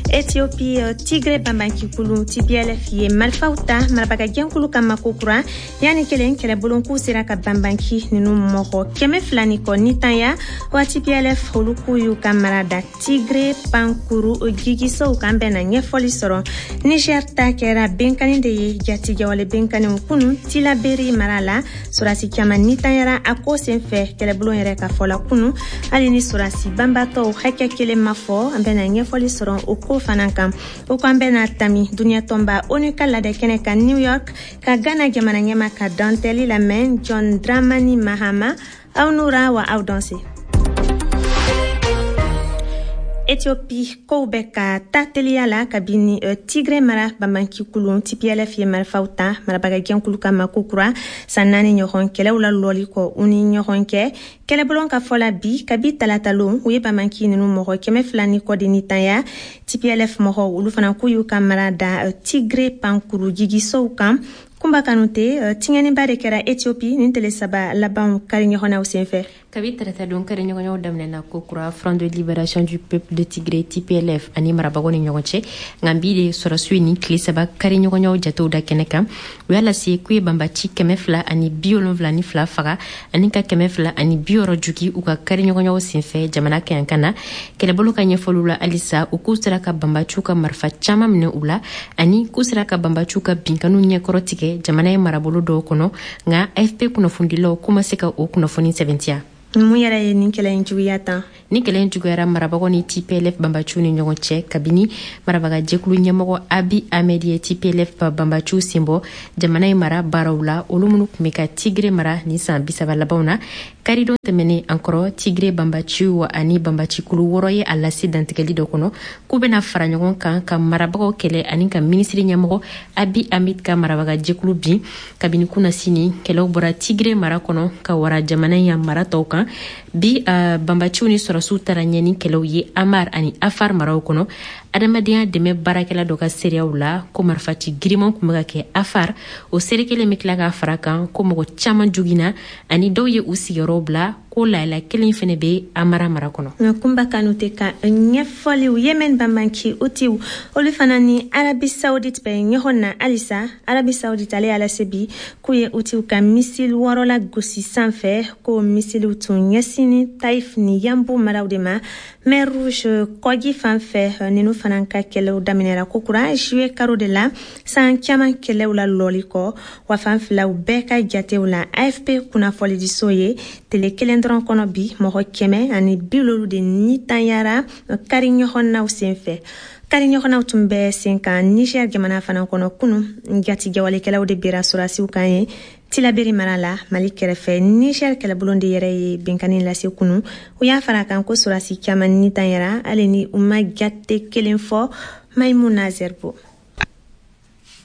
S1: Ethiopie, Tigre banbancikulu TPLF ye marifaw ta marabaga jɛnkulu kama kokura yanni kelen kɛlɛbolon k'u sera ka banbanci ninnu mɔgɔ 200 ni kɔ nitanya wa. TPLF olu k'u y'u ka mara da Tigre pankuru jigisow kan. Bɛna ɲɛfɔli sɔrɔ. Niger ta kɛra benkani de ye, jatigɛwale benkaniw kunu Tilaberi mara la, sɔrasi caman nitanyara a ko senfɛ, kɛlɛbulon yɛrɛ ka fɔ la kunu, hali ni sɔrasi banbatɔw hakɛ kelen ma fɔ. An bɛna ɲɛfɔli sɔrɔ o ko fana kan. O ko an bɛna tami duniɲa tɔnba ONU ka ladɛ kɛnɛ kan New York, ka Ghana jamana ɲɛma ka dantɛli lamɛn, John Dramani Mahama. Aw nura wa, aw danse. Ethiopie, kow bɛ ka ta teliya la kabini Tigre mara banbancikulu TPLF ye marifaw ta marabaga jɛnkulu kama kokura, san 4 ɲɔgɔn kɛlɛw la lɔli kɔ u ni ɲɔgɔn cɛ. Kɛlɛbulon ka fɔ la bi, kabi talatalon, u ye banbanci ninnu mɔgɔ 200 ni kɔ de nitanya. TPLF mɔgɔw olu fana k'u y'u ka mara da Tigre pankuru jigisow kan. Kunba Kanute, tiɲɛniba de kɛra Ethiopie nin tele 3 labanw kari ɲɔgɔnnaw senfɛ.
S17: Kabi tarata don, kari ɲɔgɔnyaw daminɛna ko kura Front de libération du peuple de Tigré, TPLF, ani marabagaw ni ɲɔgɔn cɛ. Nka bi de sɔrɔsiw ye nin tile 3 kari ɲɔgɔnyaw jatew da kɛnɛ kan. U y'a lase k'u ye banbaci 272 faga ani ka 260 jogi u ka kari ɲɔgɔnyaw senfɛ jamana kɛyankan na. Kɛlɛbolo ka ɲɛfɔliw la halisa, u k'u sera ka banbaciw ka marifa caman minɛ u la ani k'u sera ka banbaciw ka binkaniw ɲɛkɔrɔ tigɛ jamana ye marabolo dɔw kɔnɔ. Nka AFP kunnafonidilaw k'u ma se ka o kunnafoni sɛbɛntiya.
S1: Mun yɛrɛ ye nin kɛlɛ in juguya tan?
S17: Ni kɛlɛ in juguyara marabagaw ni TPLF banbaciw ni ɲɔgɔn cɛ kabini marabaga jɛkulu ɲɛmɔgɔ Abiy Ahmed ye TPLF banbaciw senbɔ jamana in mara baaraw la, olu minnu tun bɛ ka Tigre mara nin san 30 labanw na. Karidon tɛmɛnen an kɔrɔ, Tigre banbaciw ani banbacikulu 6 ye a lase dantigɛli dɔ kɔnɔ k'u bɛna fara ɲɔgɔn kan ka marabagaw kɛlɛ ani ka minisiri ɲɛmɔgɔ Abiy Ahmed ka marabaga jɛkulu bin. Kabini kunasini, kɛlɛw bɔra Tigre mara kɔnɔ ka wara jamana in mara tɔw kan. Bi, banbaciw ni sɔrɔsiw taara ɲɛ ni kɛlɛw ye Amar ani Afar maraw kɔnɔ. Adamadenya dɛmɛ baarakɛla dɔ ka seereyaw la ko marifaci giriman tun bɛ ka kɛ Afar. O seere kelen bɛ tila k'a fara kan ko mɔgɔ caman joginna ani dɔw ye u sigiyɔrɔw bila, ko lahala kelen fɛnɛ bɛ Amara mara kɔnɔ.
S1: Kunba Kanute ka ɲɛfɔliw. Yemen banbanci Utiw, olu fana ni Arabi Saoudite bɛ ɲɔgɔn na halisa. Arabi Saoudite ale y'a lase bi k'u ye Utiw ka misili 6 la gosi sanfɛ, ko misiliw tun ɲɛsinni Taif ni Yanbu maraw de ma. Mer Rouge kɔji fan fɛ, ninnu fana ka kɛlɛw daminɛra kokura juillet karo de la, san caman kɛlɛw la lɔli kɔ. Wa fan filaw bɛɛ ka jatew la, AFP kunnafonidiso ye, tele kelen dɔrɔn kɔnɔ bi, mɔgɔ 170 de nitanyara kari ɲɔgɔnnaw senfɛ. Kari ɲɔgɔnnaw tun bɛ sen kan Niger jamana fana kɔnɔ kunu. Jatigɛwalekɛlaw de bera sɔrɔdasiw kan ye Tilaberi mara la, Mali kɛrɛfɛ. Niger kɛlɛbulon de yɛrɛ ye binkanni lase kunu. U y'a fara kan ko sɔrɔdasi caman nitanyara, hali ni u ma jate kelen fɔ. Maimuna Zerbo.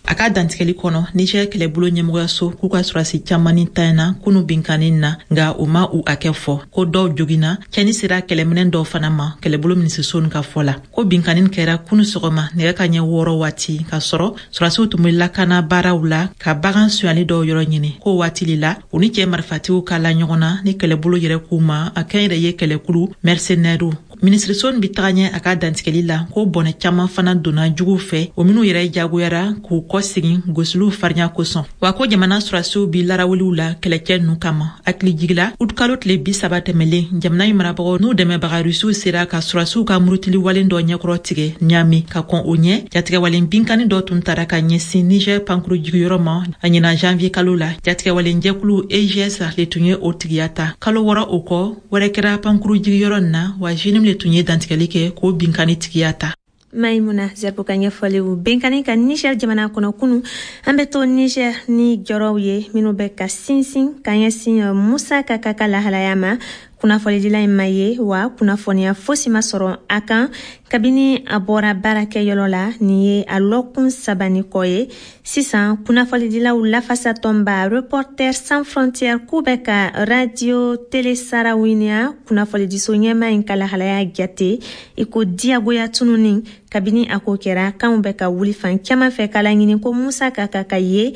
S21: A ka dantigɛli kɔnɔ, Niger kɛlɛbolo ɲɛmɔgɔyaso k'u ka sɔrɔdasi caman ni tanyana kunu binkanni na, nka u ma u hakɛ fɔ. Ko dɔw joginna, cɛni sera kɛlɛminɛn dɔw fana ma. Kɛlɛbolo minisiriso ka fɔ la ko binkanni kɛra kunu sɔgɔma nɛgɛ ka ɲɛ 6 waati, k'a sɔrɔ sɔrɔdasiw tun bɛ lakana baaraw la ka bagan sonyali dɔw yɔrɔ ɲini. Ko waati le la u ni cɛ marifatigiw ka la ɲɔgɔn na ni kɛlɛbolo yɛrɛ k'u ma a kɛn yɛrɛ ye kɛlɛkulu mercenaires. Minisiriso bɛ taga ɲɛ a ka dantigɛli la ko bɔnɛ caman fana donna juguw fɛ, o minw yɛrɛ jagoyara k'u kɔsegin gosiliw farinya kosɔn. Wa ko jamana sɔrɔdasiw bi larawuliw la kɛlɛcɛ ninnu kama. Hakili jigila, utukalo tile 30 tɛmɛlen, jamana in marabagaw n'u dɛmɛbaga Rusiw sera ka sɔrɔdasiw ka murutili walen dɔ ɲɛkɔrɔ tigɛ Ɲami. Ka kɔn o ɲɛ, jatigɛwalen binkanni dɔ tun tara ka ɲɛsin Niger pankuru jigiyɔrɔ ma a ɲinan janvier kalo la. Jatigɛwalen jɛkulu EIGS le tun ye o tigiya ta. Kalo 6 o kɔ, wɛrɛ kɛra pankuru jigiyɔrɔ nin na, wa JNIM le tun ye dantigɛli kɛ k'o binkanni tigiya ta.
S1: Maimuna Zerbo ka ɲɛfɔliw benkani ka Niger jamana kɔnɔ kunu. An bɛ to Niger ni jɔrɔw ye minnu bɛ ka sinsin ka ɲɛsin Musa Kaka ka lahalaya ma. Kunnafonidila in ma ye wa kunnafoniya fosi ma sɔrɔ a kan kabini a bɔra baarakɛyɔrɔ la. Nin ye a lɔkun 3 ni kɔ ye sisan. Kunnafonidilaw lafasatɔnba Reporters sans frontières k'u bɛ ka radio télé Sarawiniya kunnafonidiso ɲɛma in ka lahalaya jate i ko diyagoya tununi. Kabini a ko kɛra, kanw bɛ ka wuli fan caman fɛ k'a laɲini ko Musa Kaka ka ye.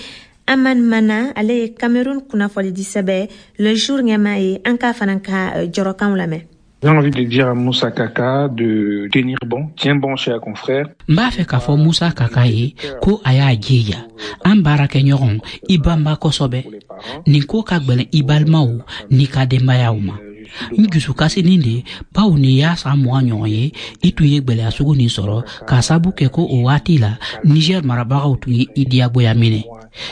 S1: Aman Mana, ale ye Cameroun kunnafonidi sɛbɛn Le Jour ɲɛmaa ye. An k'a fana ka jɔrɔkanw lamɛn.
S2: J'ai envie de dire à Moussa Kaka de tenir bon, tiens bon, cher confrère.
S22: N b'a fɛ k'a fɔ Musa Kaka ye ko a y'a jija, an baarakɛɲɔgɔn, i banba kosɛbɛ. Nin ko ka gwɛlɛn i balimaw n'i ka denbayaw ma. N dusukasinin de bawo nin y'a san 20 ɲɔgɔn ye i tun ye gwɛlɛya sugu nin sɔrɔ, k'a sabu kɛ ko o waati la Niger marabagaw tun ye i diyagoya minɛ.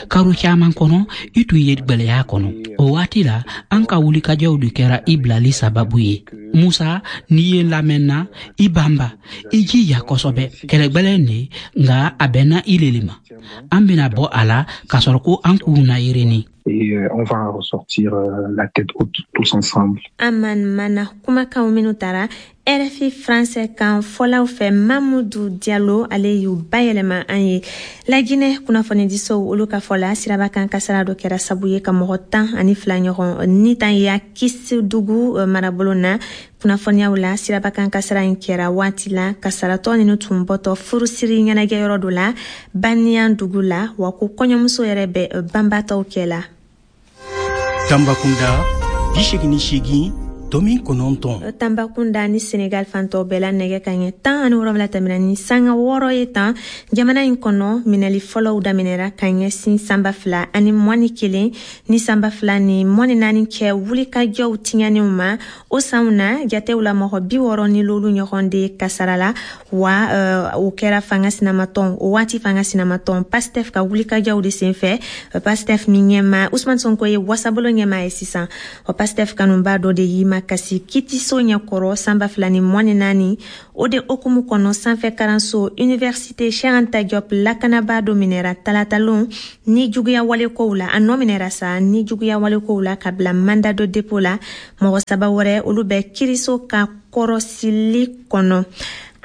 S22: Karo caman kɔnɔ i tun ye gwɛlɛya kɔnɔ. O waati la an ka wulikajɔw de kɛra i bilali sababu ye. Musa, n'i ye lamɛnna, i banba, i jija kosɛbɛ. Kɛlɛgbɛlɛn de, nka a bɛnna i lele ma. An bɛna bɔ a la k'a sɔrɔ ko an k'u na yerini.
S2: Et on va ressortir la tête haute tous ensemble.
S1: Aman Mana kumakanw minnu tara RFI français kan fɔlaw fɛ Mamudu Diallo, ale y'u bayɛlɛma an ye. Laginɛ kunnafonidisow olu ka fɔ la, siraba kan kasara dɔ kɛra sabu ye ka mɔgɔ 12 ɲɔgɔn ni tan ya Kisidugu marabolo na. Kunnafoniyaw la, siraba kan kasara in kɛra waati la kasaratɔ ninu tun bɔtɔ furusiri ɲɛnajɛyɔrɔ dɔ la Baniyan dugu la, wa ko kɔɲɔmuso yɛrɛ bɛ banbatɔw kɛ la.
S4: Tambakunda 88.9.
S1: Tambakunda ni Senegal fantɔ bɛɛ la, nɛgɛ ka ɲɛ 17 tɛmɛna ni sanga 6 ye tan. Jamana in kɔnɔ, minɛli fɔlɔw daminɛra ka ɲɛsin san 2021 ni san 2024 cɛ wulikajɔw tiɲɛniw ma. O sanw na, jatew la, mɔgɔ 65 ɲɔgɔn de kasara la, wa o kɛra fanga sinamatɔn, o waati fanga sinamatɔn Pastef ka wulikajɔw de senfɛ. Pastef min ɲɛma Usman Sonko ye wasabolo ɲɛma ye sisan, o Pastef kanuba dɔ de y'i makasi kitiso ɲɛkɔrɔ san 2024. O de hukumu kɔnɔ, sanfɛ karanso Université Cheikh Anta Diop lakanabaa dɔ minɛra talatalon ni juguya walekow la. A nɔ minɛra sa ni juguya walekow la ka bila mandat de dépôt la. Mɔgɔ saba wɛrɛ, olu bɛ kiriso ka kɔrɔsili kɔnɔ.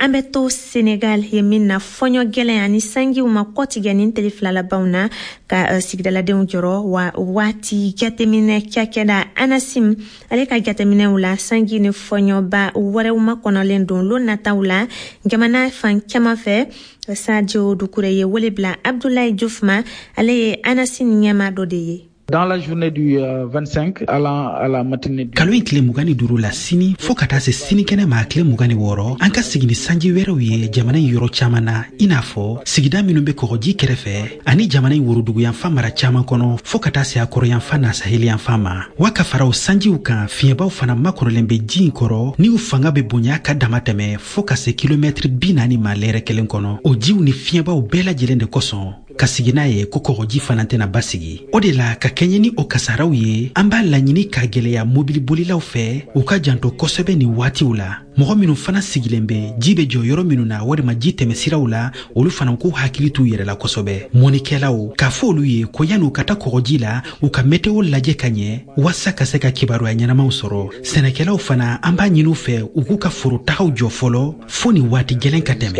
S1: An bɛ to Senegal ye min na, fɔɲɔ gɛlɛn ani sanjiw ma kɔtigɛ nin tele fila labanw na ka sigidaladenw jɔrɔ. Wa waati jateminɛ cakɛda Anasim ale ka jateminɛw la, sanji ni fɔɲɔba wɛrɛw makɔnɔlen don lon nataw la jamana fan caman fɛ. Sadio Dukure ye wele bila Abdoulaye Diouf ma, ale ye Anasim ɲɛma dɔ de ye.
S2: Dans la journée du 25 allant à la matinée du
S3: Kalo in tile 25 la, sini fɔɔ ka taa se sinikɛnɛ ma tile 26, an ka sigi ni sanji wɛrɛw ye jamana in yɔrɔ caaman na, i n'a fɔ sigida minw be kɔgɔji kɛrɛfɛ ani jamana in woroduguyanfan mara caaman kɔnɔ, fɔɔ ka taa se a kɔrɔyanfan n'a saheliyanfan ma. Wa ka fara o sanjiw kan, fiɲɛbaw fana makɔrɔlen be ji in kɔrɔ ni u fanga be bonya ka dama tɛmɛ fɔɔ ka se kilomɛtiri 40 ma lɛrɛ kelen kɔnɔ. O jiw ni fiɲɛbaw bɛɛ lajɛlen de kosɔn ka sigi n'a ye ko kɔgɔji fana tɛna basigi. O de la, ka kɛɲɛ ni o kasaraw ye, an b'a laɲini ka gwɛlɛya mobilibolilaw fɛ u ka janto kosɛbɛ nin waatiw la. Mɔgɔ minw fana sigilen bɛ ji bɛ jɔ yɔrɔ minnu na walima ji tɛmɛsiraw la, olu fana k'u hakili t'u yɛrɛ la kosɛbɛ. Mɔnikɛlaw k'a fɔ olu ye ko yan'u ka taa kɔgɔji la, u ka meteo lajɛ ka ɲɛ waasa ka se ka kibaruya ɲɛnamaw sɔrɔ. Sɛnɛkɛlaw fana, an b'a ɲini u fɛ u k'u ka forotagaw jɔ fɔlɔ fo nin waati gɛlɛn ka tɛmɛ.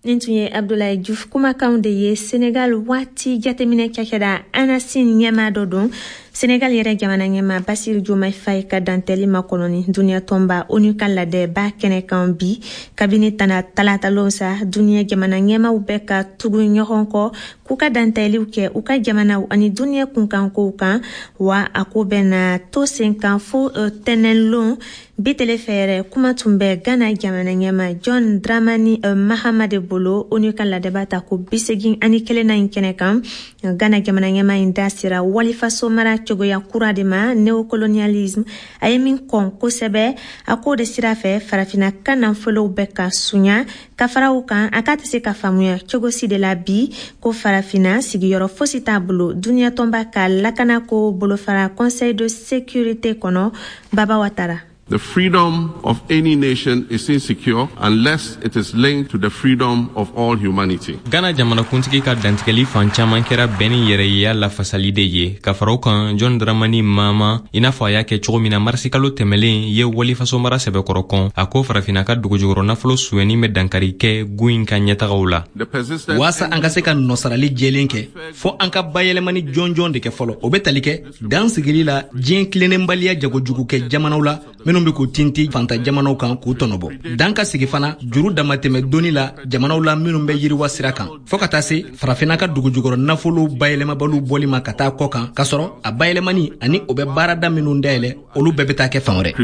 S1: Nin tun ye Abdoulaye Diouf kumakanw de ye, Senegal waati jateminɛ cakɛda Anasim ɲɛma dɔ don. Senegal yɛrɛ jamana ɲɛma Basir Diomaye Faye ka dantɛli makɔnɔni duniɲa tɔnba ONU ka ladɛba kɛnɛ kan bi. Kabini tana talatalon sa, duniɲa jamana ɲɛmaw bɛ ka tugu ɲɔgɔn kɔ k'u ka dantɛliw kɛ u ka jamanaw ani duniɲa kunkankow kan. Wa a ko bɛna to sen kan fo tɛnɛnlon. Bi tele fɛ yɛrɛ, kuma tun bɛ Ghana jamana ɲɛma John Dramani Mahama de bolo ONU ka ladɛba ta ko 81nan in kɛnɛ kan. Ghana jamana ɲɛma in da sera walifaso mara cogoya kura de ma, néocolonialisme, a ye min kɔn kosɛbɛ. A k'o de sira fɛ, farafina ka nafolow bɛ ka sunya. Ka fara o kan, a k'a tɛ se ka faamuya cogo si de la bi ko farafina sigiyɔrɔ fosi t'a bolo duniɲa tɔnba ka lakanako bolofara Conseil de sécurité kɔnɔ. Baba Watara.
S6: The freedom of any nation is insecure unless it is linked to the freedom of all humanity.
S5: Ghana jamanakuntigi ka dantigɛli fan caman kɛra bɛn ni yɛrɛyeya lafasali de ye. Ka fara o kan, John Dramani Mahama, i n'a fɔ a y'a kɛ cogo min na marisikalo tɛmɛlen, ye walifaso mara sɛbɛkɔrɔ kɔn. A ko farafinna ka dugujukɔrɔ nafolo sonyɛni bɛ dankari kɛ gun in ka ɲɛtagaw la.
S23: Waasa an ka se ka nɔsarali jɛlen kɛ, fɔɔ an ka bayɛlɛmani jɔnjɔn de kɛ fɔlɔ. O bɛ tali kɛ dan sigili la diɲɛ tilennenbaliya jagojugu kɛ jamanaw la minnu bɛ k'u tinti fanta jamanaw kan k'u tɔnɔbɔ. Dan ka sigi fana juru damatɛmɛ doni la jamanaw la minnu bɛ yiriwa sira kan, fɔɔ ka taa se farafinna ka dugujukɔrɔ nafolo bayɛlɛmabaliw bɔli ma ka taa kɔ kan, k'a sɔrɔ a bayɛlɛmani ani o bɛ baarada minnu dayɛlɛ, olu bɛɛ bɛ taa kɛ fan wɛrɛ.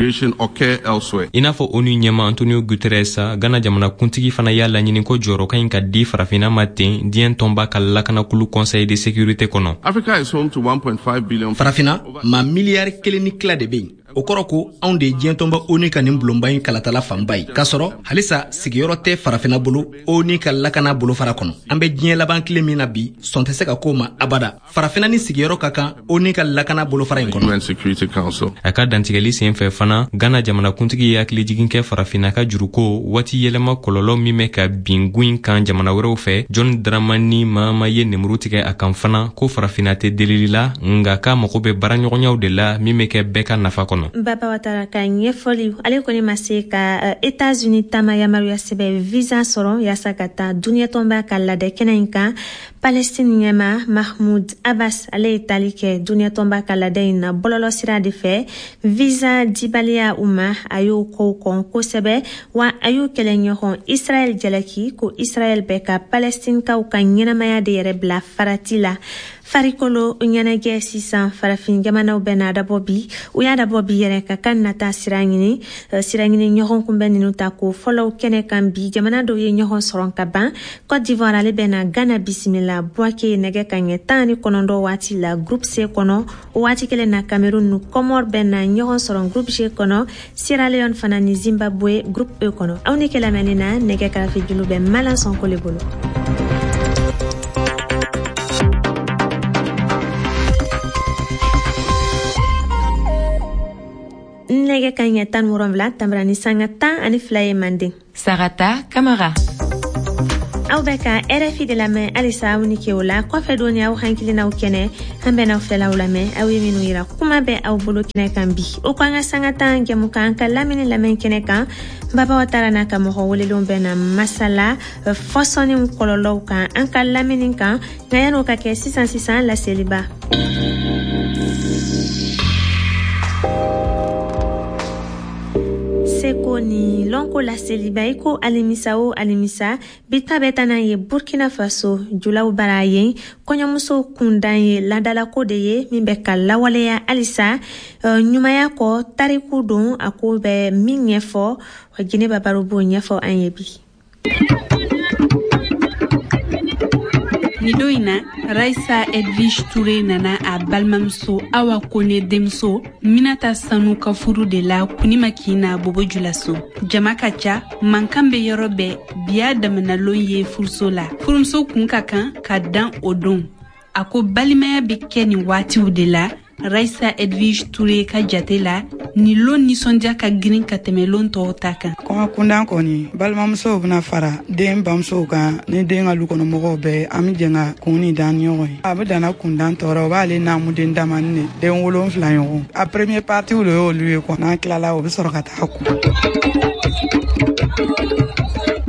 S5: I n'a fɔ ONU ɲɛma Antonio Guterres, Ghana jamanakuntigi fana y'a laɲini ko jɔyɔrɔ ka ɲi ka di farafinna ma ten diɲɛ tɔnba ka lakanakulu Conseil de sécurité kɔnɔ.
S6: Africa is home to 1.5 billion.
S23: Farafinna ma miliyari 1.5 de bɛ yen. O kɔrɔ ko anw de ye diɲɛ tɔnba ONU ka nin bulonba in kalatala fanba ye, k'a sɔrɔ halisa sigiyɔrɔ tɛ farafinna bolo ONU ka lakana bolofara kɔnɔ. An bɛ diɲɛ laban tile min na bi, sɔn tɛ se ka k'o ma abada. Farafinna ni sigiyɔrɔ ka kan ONU ka lakana bolofara in kɔnɔ.
S5: A ka dantigɛli sen fɛ fana, Ghana jamanakuntigi ye hakilijigin kɛ farafinna ka juruko waati yɛlɛma kɔlɔlɔ min bɛ ka bin gun in kan jamana wɛrɛw fɛ. John Dramani Mahama ye nemuru tigɛ a kan fana ko farafinna tɛ delili la, nka k'a mago bɛ baaraɲɔgɔnyaw de la min bɛ kɛ bɛɛ ka nafa kɔnɔ. kɔnɔ.
S1: Baba Watara ka ɲɛfɔli. Ale kɔni ma se ka Etats-Unis taama yamaruya sɛbɛn visa sɔrɔ yaasa ka taa duniɲɛ tɔnba ka ladɛ kɛnɛ in kan. Palestine ɲɛma Mahmoud Abbas, ale ye taali kɛ duniɲɛ tɔnba ka ladɛ in na bɔlɔlɔ sira de fɛ. Visa dibaliya u ma, a y'o kow kɔn kosɛbɛ, wa a y'u kɛlɛɲɔgɔn Israɛl jalaki ko Israɛl bɛ ka Palestinekaw ka ɲɛnamaya de yɛrɛ bila farati la. Farikolo ɲɛnajɛ sisan, farafin jamanaw bɛna dabɔ bi, u y'a dabɔ bi yɛrɛ ka kan nata sira ɲini, sira ɲini ɲɔgɔn kunbɛn ninnu ta ko fɔlɔw kɛnɛ kan bi. Jamana dɔw ye ɲɔgɔn sɔrɔ ka ban. Cote d'Ivoire, ale bɛna Ghana bisimila Bouaké nɛgɛ ka ɲɛ 19 waati la, groupe C kɔnɔ. O waati kelen na, Cameroun ni Comore bɛna ɲɔgɔn sɔrɔ groupe G kɔnɔ, Sierra Leone fana ni Zimbabwe groupe E kɔnɔ. Aw ni kɛlɛmɛni na, nɛgɛ karafe julu bɛ Malan Sɔnko le bolo. Nɛgɛ ka ɲɛ 17 tanbara ni sanga 12 ye manden.
S4: Sarata Kamara.
S1: Aw bɛ ka RFI de lamɛn halisa. Aw ni ke o la kɔfɛ don aw hakilinaw kɛnɛ, an bɛn'aw fɛlaw lamɛn, aw ye minnu yira. Kuma bɛ aw bolo kɛnɛ kan bi, o ko an ka sanga 10 jɛmukan ka lamini lamɛn kɛnɛ kan. Baba Watara n'a ka mɔgɔ welelenw bɛ na masala fɔsɔnniw kɔlɔlɔw kan an ka lamini kan. Nka yan'o ka kɛ, sisan sisan laseliba. Seko ni lɔnko laseliba, i ko alimisa o alimisa, bi ta bɛ taa n'a ye Burkina Faso julaw bara. Yen kɔɲɔmuso kundan ye ladalako de ye min bɛ ka lawaleya halisa ɲumanya kɔ. Tariku don, a ko bɛ min ɲɛfɔ, Jinɛba Baro b'o ɲɛfɔ an ye bi.
S7: Ni don in na, Raisa Edwige Toure nana a balimamuso Awa Kone denmuso Minata Sanu ka furu de la Kunima Kina Bobo Julaso. Jama ka ca, mankan bɛ yɔrɔ bɛɛ. Biya damanalon ye furuso la. Furumuso kun ka kan ka dan o don. A ko balimaya bɛ kɛ nin waatiw de la. Raisa Edwige Toure ka jate la, nin lon nisɔndiya ka girin ka tɛmɛ lon tɔw ta kan.
S8: Kɔɲɔ kundan kɔni, balimamusow bɛna fara den bamusow kan ni den ka lukɔnɔmɔgɔw bɛɛ. An bɛ jɛn ka kun ni dan ni ɲɔgɔn ye. A bɛ danna kundan tɔɔrɔ, o b'ale naamuden damani de, den 7 ɲɔgɔn. A premier partie de y'olu ye quoi. N'an tilala, o bɛ sɔrɔ ka taa kun.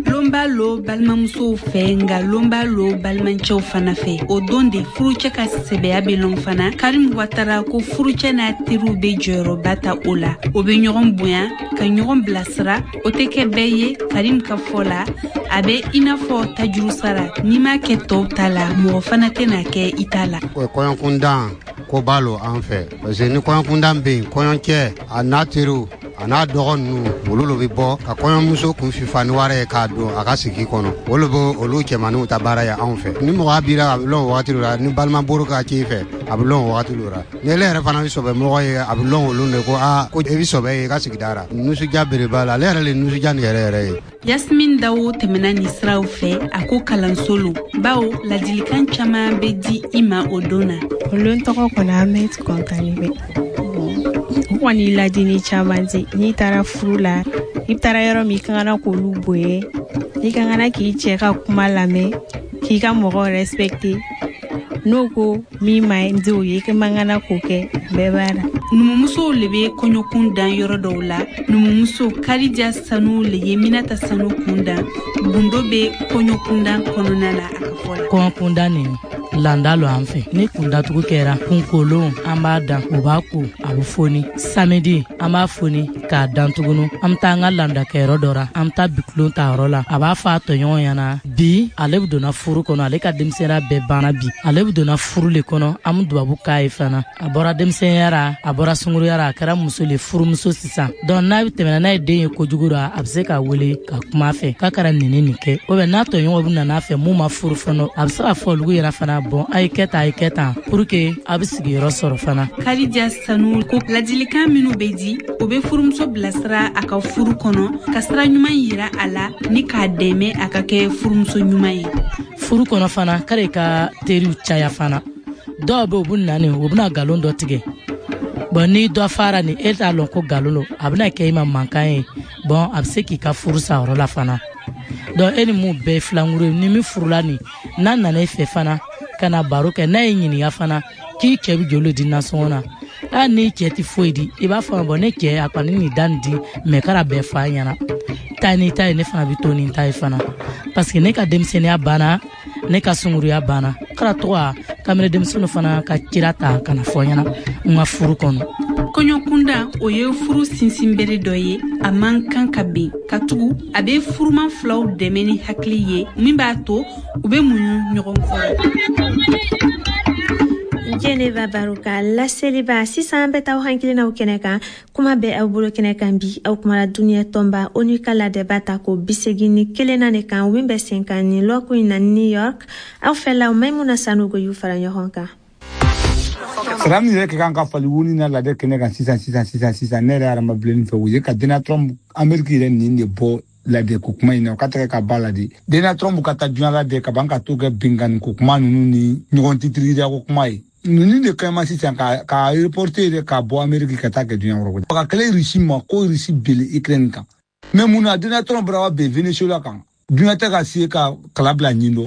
S7: Lon b'a lo balimamusow fɛ, nka lon b'a lo balimacɛw fana fɛ. O don de furucɛ ka sɛbɛya bɛ lɔn fana. Karim Watara ko furucɛ n'a teriw bɛ jɔyɔrɔba ta o la. O bɛ ɲɔgɔn bonya ka ɲɔgɔn bilasira. O tɛ kɛ bɛɛ ye. Karim ka fɔ la, a bɛ i n'a fɔ tajuru sara, n'i m'a kɛ tɔw ta la, mɔgɔ fana tɛna kɛ i ta la.
S9: Kɔɲɔkundan ko b'a lo an fɛ, parce que ni kɔɲɔkundan bɛ yen, kɔɲɔcɛ a n'a teriw a n'a dɔgɔ ninnu, olu lo bɛ bɔ ka kɔɲɔmuso kun fifa ni wari ye k'a don a ka sigi kɔnɔ. Olu bɛ olu cɛmaninw ta baara ye anw fɛ. Ni mɔgɔ b'i la, a bɛ lɔn o wagati la. Ni balima boro ka ci i fɛ, a bɛ lɔn o wagati la. Ni ele yɛrɛ fana bɛ sɔbɛ mɔgɔ ye, a bɛ lɔn olu de ko aa, ko e bɛ sɔbɛ ye i ka sigida la. Nisɔndiya belebele la, ale yɛrɛ le nisɔndiya nin yɛrɛ yɛrɛ ye.
S7: Yasmin Dawo tɛmɛna nin siraw fɛ. A ko kalanso lo, bawo ladilikan caman bɛ di i ma o don na.
S10: O lon tɔgɔ kɔni, an bɛ kɔntanni bɛ u kɔni ladili caman di. N'i taara furu la, i taara yɔrɔ min, i kan kana k'olu bonya, i kan kana k'i cɛ ka kuma lamɛn, k'i ka mɔgɔw respecter. N'o ko min ma di o ye, i man kana k'o kɛ. Bɛɛ b'a la.
S7: Numumusow le bɛ kɔɲɔkun dan yɔrɔ dɔw la. Numumuso Karija Sanu le ye Minata Sanu kun dan. Gundo bɛ kɔɲɔkundan kɔnɔna na, a ka fɔ la.
S11: Kɔɲɔkundan nin landa lo an fɛ. Ni kundatugu kɛra kunkolon, an b'a dan, o b'a ko, a bɛ foni. Samedi, an b'a foni k'a dan tugunu. An bɛ taa an ka landakɛyɔrɔ dɔ ra, an bɛ taa bikulon ta yɔrɔ la. A b'a fɔ a tɔɲɔgɔn ɲɛna bi ale bɛ donna furu kɔnɔ, ale ka denmisɛnninya bɛɛ banna bi, ale bɛ donna furu le kɔnɔ. An bɛ dubabu k'a ye fana. A bɔra denmisɛnninya ra, a bɔra sunkuruya ra, a kɛra muso le, furumuso sisan. Donc n'a bɛ tɛmɛna n'a ye den ye kojugu ra, a bɛ se k'a wele ka kuma a fɛ k'a kɛra nin ni nin kɛ. Ou bien n'a tɔɲɔgɔnw bɛ na n'a fɛ mun ma furu fɔlɔ, a bɛ se k'a fɔ olu yɛrɛ fana, bon, a ye kɛ tan, a ye kɛ tan, pour que a bɛ sigiyɔrɔ sɔrɔ fana.
S7: Karija Sanu ko ladilikan minnu bɛ di, o bɛ furumuso bilasira a ka furu kɔnɔ, ka sira ɲuman yira a la ni k'a dɛmɛ a ka kɛ furumuso ɲuman ye.
S11: Furu kɔnɔ fana, k'ale ka teriw caya fana. Dɔw bɛ, u bɛ na nin, u bɛna nkalon dɔ tigɛ. Bon, ni dɔ fara ni e t'a lɔn ko nkalon don, a bɛna kɛ i ma mankan ye. Bon, a bɛ se k'i ka furu sa yɔrɔ la fana. Donc e ni mun bɛɛ ye filankuru ye, ni min furula nin, n'a nana e fɛ fana ka na baro kɛ, n'a y'i ɲininka fana k'i cɛ bɛ joli di nasɔngɔ na, Hali n'i cɛ tɛ foyi di, i b'a fɔ bɔn ne cɛ a kɔni nin da nin di, mɛ kɛra bɛɛ fɔ a ɲɛna. Taa n'i ta ye, ne fana bɛ to ni ta ye fana, parce que ne ka denmisɛnninya banna, ne ka sunguruya banna. Kɛra tɔgɔ kamalen denmisɛnninw fana ka cira ta ka na fɔ ɲɛna n ka furu kɔnɔ.
S7: Kɔɲɔkunda, o ye furu sinsinbere dɔ ye, a man kan ka bin, katugu a bɛ furuman filaw dɛmɛ ni hakili ye min b'a to u bɛ muɲu ɲɔgɔn kɔrɔ.
S1: Geneva Baroka laseliba. Sisan an bɛ taa aw hakilinaw kɛnɛ kan. Kuma bɛ aw bolo kɛnɛ kan bi. Aw kumara duniɲɛ tɔnba ONU ka ladɛba ta ko 81nan de kan, min bɛ sen kan nin lɔkun in na New York. Aw fɛlaw, Maimuna Sanogo y'u fara ɲɔgɔn kan.
S4: Sara min yɛrɛ ka kan ka fali wuni na ladɛ kɛnɛ kan sisan sisan sisan sisan, ne yɛrɛ hadamabilenni fɛ, o ye ka Donald Trump, Ameriki yɛrɛ nin de bɔ ladɛ ko kuma in na, o ka tɛgɛ ka ba la de. Donald Trump ka taa diɲɛ ladɛ ka ban ka to kɛ binkanni ko kuma ninnu ni ɲɔgɔn titirida ko kuma ye. Ninnu de kɛma sisan ka reporter yɛrɛ ka bɔ Ameriki ka taa kɛ diɲɛ yɔrɔ. Ka kɛlɛ Russie ma ko Russie bele Ukraine kan. Mais mun na Donald Trump bɔra wa ben Venezuela kan? Diɲɛ tɛ ka se ka kala bila ɲin dɔ.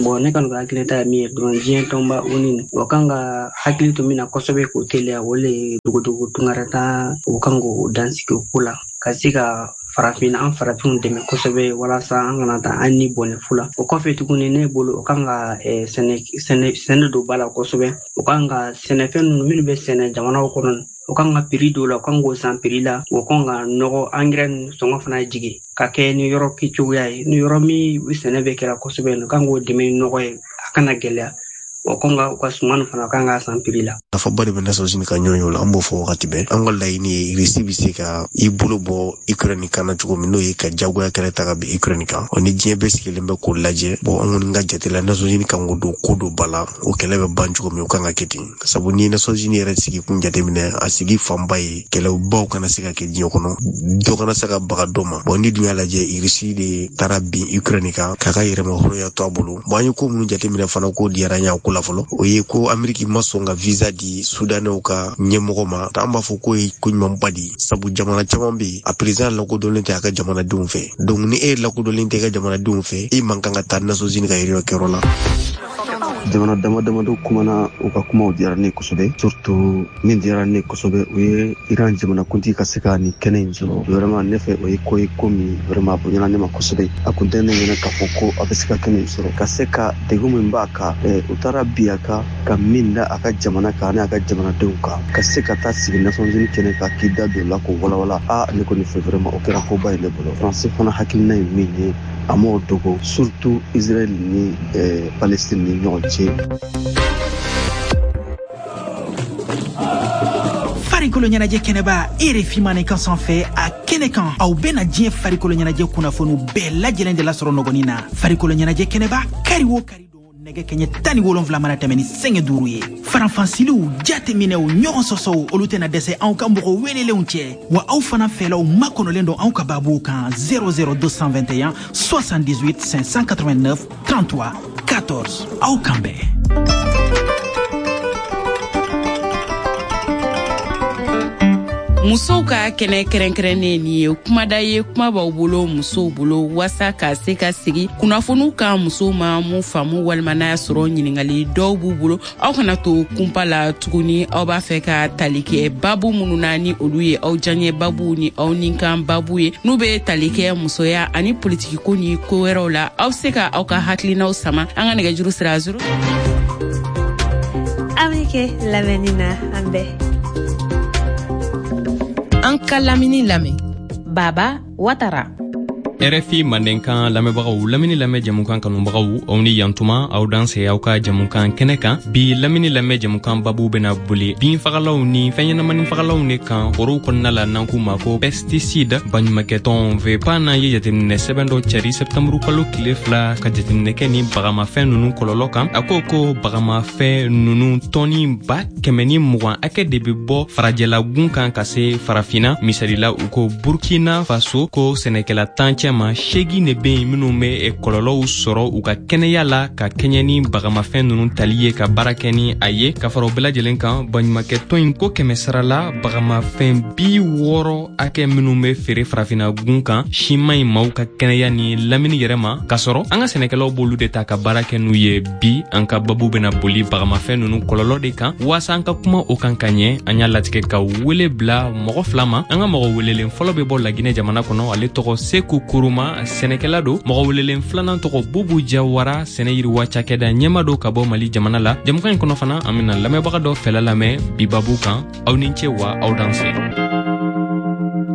S12: Bon, ne kɔni ka hakilita ye min ye dɔrɔn, diɲɛ tɔnba ONU, o kan ka hakili to min na kosɛbɛ k'o teliya, o le ye dogodogo tunkarata, o kan k'o dansigi o ko la, ka se ka farafin, an farafinw dɛmɛ kosɛbɛ, walasa an kana taa an ni bɔnɛ fu la. O kɔfɛ tuguni, ne bolo, o kan ka sɛnɛ don ba la kosɛbɛ. O kan ka sɛnɛfɛn ninnu minnu bɛ sɛnɛ jamanaw kɔnɔ, o kan ka prix dɔw la, o kan k'o san prix la. O kan ka nɔgɔ, angɛrɛ ninnu sɔngɔ fana jigin ka kɛ ni yɔrɔ kɛcogoya ye, ni yɔrɔ min sɛnɛ bɛ kɛra kosɛbɛ, o kan k'o dɛmɛ ni nɔgɔ ye, a kana gɛlɛya. O kan ka u ka suman fana kan ka san prix la.
S14: Nafaba de bɛ Nations Unies ka ɲɔgɔn ye o la, an b'o fɔ wagati bɛɛ. An ka laɲini ye Russie bɛ se ka i bolo bɔ Ukraine kan na cogo min, n'o ye ka jagoya kɛlɛ ta ka bin Ukraine kan. O ni diɲɛ bɛɛ sigilen bɛ k'o lajɛ. Bon, an kɔni ka jate la, Nations Unies kan k'o don ko dɔ ba la, o kɛlɛ bɛ ban cogo min, o kan ka kɛ ten. Sabu ni Nations Unies yɛrɛ sigi kun jateminɛ, a sigi fanba ye kɛlɛbaw kana se ka kɛ diɲɛ kɔnɔ, dɔ kana se ka baga dɔ ma. Bon, ni dun y'a lajɛ, Russie de taara bin Ukraine kan k'a ka yɛrɛmahɔrɔnya to a bolo. Bon, an ye ko minnu jateminɛ fana, k'o diyara an ye a ko la fɔlɔ, o ye ko Ameriki ma sɔn ka visa di Sudanɛw ka ɲɛmɔgɔ ma. An b'a fɔ k'o ye ko ɲumanba de ye, sabu jamana caman bɛ yen, a président lakodɔnlen tɛ a ka jamanadenw fɛ. Donc ni e lakodɔnlen tɛ i ka jamanadenw fɛ, e man kan ka taa Nations Unies ka réunion kɛyɔrɔ la.
S15: Jamana dama damadɔ kumana, u ka kumaw diyara ne kosɛbɛ. Surtout min diyara ne kosɛbɛ, o ye Iran jamanakuntigi ka se ka nin kɛnɛ in sɔrɔ. Vraiment, ne fɛ, o ye ko ye ko min vraiment a bonyana ne ma kosɛbɛ. A kun tɛ ne ɲɛna k'a fɔ ko a bɛ se ka kɛnɛ in sɔrɔ, ka se ka degun min b'a kan, u taara bi a kan ka min da a ka jamana kan ani a ka jamanadenw kan, ka se ka taa sigi Nations Unies kɛnɛ kan k'i da don la k'o walawala. A ne kɔni fɛ, vraiment, o kɛra koba ye ne bolo. Faransi fana hakilina ye min ye, a m'o dogo, surtout Israël ni Palestine ni ɲɔgɔn cɛ.
S3: Farikolo ɲɛnajɛ kɛnɛba, RFI Mandenkan sanfɛ, a kɛnɛ kan, aw bɛna diɲɛ farikolo ɲɛnajɛ kunnafoniw bɛɛ lajɛlen de lasɔrɔ nɔgɔnin na. Farikolo ɲɛnajɛ kɛnɛba, kari o kari don, nɛgɛ kɛɲɛ 17 mana tɛmɛ ni sɛgɛ 5 ye. Faranfansiliw, jateminɛw, ɲɔgɔn sɔsɔw, olu tɛna dɛsɛ anw ka mɔgɔ welelenw cɛ. Wa aw fana fɛlaw makɔnɔlen don anw ka babuw kan: 00221 78 589 33 14. Aw kan bɛn.
S16: Musow ka kɛnɛ kɛrɛnkɛrɛnnen, nin ye kumada ye, kuma b'aw bolo musow bolo, waasa ka se ka sigi kunnafoniw kan musow ma mun faamu, walima n'a y'a sɔrɔ ɲiningali dɔw b'u bolo. Aw kana to kunpa la tuguni. Aw b'a fɛ ka tali kɛ babu minnu na, ni olu ye aw diyaɲɛ babu ni aw ninkan babu ye, n'u bɛ tali kɛ musoya ani politikiko ni ko wɛrɛw la, aw se ka aw ka hakilinaw sama an ka nɛgɛjuru sira 0.
S1: Aw ni kɛ lamɛnni na, an bɛɛ.
S13: An ka lamini lamɛn, Baba Watara.
S5: RFI Mandenkan lamɛnbagaw, lamini lamɛn jamukan kanubagaw, aw ni yantuma, aw danse aw ka jamukan kɛnɛ kan. Bi lamini lamɛn jamukan babu bena boli binfagalaw ni fɛnɲɛnamani fagalaw de kan forow kɔnɔna la, n'an k'u ma ko pesticide. Baɲumakɛtɔn VEPAN ye jateminɛ sɛbɛn dɔ cari sɛptanburu kalo tile 2 ka jateminɛ kɛ ni bagamafɛn nunu kɔlɔlɔ kan. A ko ko bagamafɛn nunu tɔni 120 hakɛ de be bɔ farajɛlagun kan ka se Farafinna. Misalila, u ko Burkina Faso ko sɛnɛkɛla 10 cɛ cɛma, 8 de bɛ yen minnu bɛ kɔlɔlɔw sɔrɔ u ka kɛnɛya la ka kɛɲɛ ni bagamafɛn ninnu tali ye ka baara kɛ ni a ye. Ka fara o bɛɛ lajɛlen kan, baɲumankɛtɔn in ko 100 sara la bagamafɛn 60 hakɛ minnu bɛ feere farafinna gun kan si man ɲi maaw ka kɛnɛya ni lamini yɛrɛ ma, k'a sɔrɔ an ka sɛnɛkɛlaw b'olu de ta ka baara kɛ n'u ye. Bi an ka babu bɛna boli bagamafɛn ninnu kɔlɔlɔ de kan. Waasa an ka kuma o kan ka ɲɛ, an y'a latigɛ ka wele bila mɔgɔ 2 ma. An ka mɔgɔ welelen fɔlɔ bɛ bɔ Laginɛ jamana kɔnɔ, ale tɔgɔ Seku Kuruma, sɛnɛkɛla don. Mɔgɔ welelen filanan tɔgɔ Bubu Jawara, sɛnɛ yiriwa cakɛda ɲɛma don ka bɔ Mali jamana la. Jɛmukan in kɔnɔ fana, an bɛna lamɛnbaga dɔ fɛla lamɛn bi babu kan. Aw ni ce wa aw danse.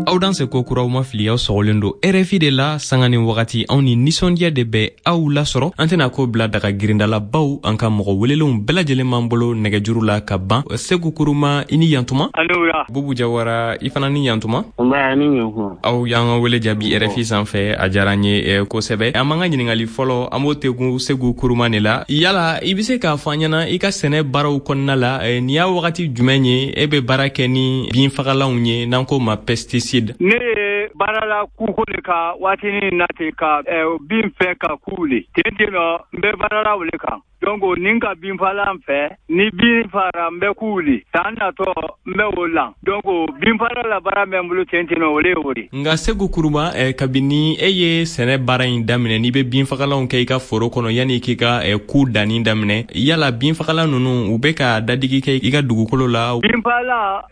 S5: Aw danse ko kuraw ma fili, aw sɔgɔlen don RFI de la sanga ni wagati. Anw ni nisɔndiya de bɛ aw lasɔrɔ. An tɛna ko bila daga girindala baw, an ka mɔgɔ welelenw bɛɛ lajɛlen b'an bolo nɛgɛjuru la ka ban. Seku Kuruma, i ni yantuma. Bubu Jawara, i fana ni yantuma. Aw y'an ka wele jaabi RFI sanfɛ, a diyara an ye kosɛbɛ. An b'an ka ɲininkali fɔlɔ, an b'o tegun Seku Kuruma de la. Yala i bɛ se k'a fɔ an ɲɛna, i ka sɛnɛ baaraw kɔnɔna la, nin y'a wagati jumɛn ye e bɛ baara kɛ ni binfagalanw ye n'an k'o ma pesticide?
S18: Ne ye baara la kuko le kan waatinin na ten ka bin fɛ ka ku le ten ten nɔ, n bɛ baara la o le kan. Donc ni ka binfagalan fɛ, ni bin fara n bɛ ku wuli, san natɔ n bɛ o lan. Donc binfagala la baara bɛ n bolo ten ten nɔ, o le ye o de.
S5: Nka Seku Kuruma, kabini e ye sɛnɛ baara in daminɛ, n'i bɛ binfagalanw kɛ i ka foro kɔnɔ yanni k'i ka ku danni daminɛ, yala binfagalan ninnu u bɛ ka dadigi kɛ i ka dugukolo la?
S18: Binfagalan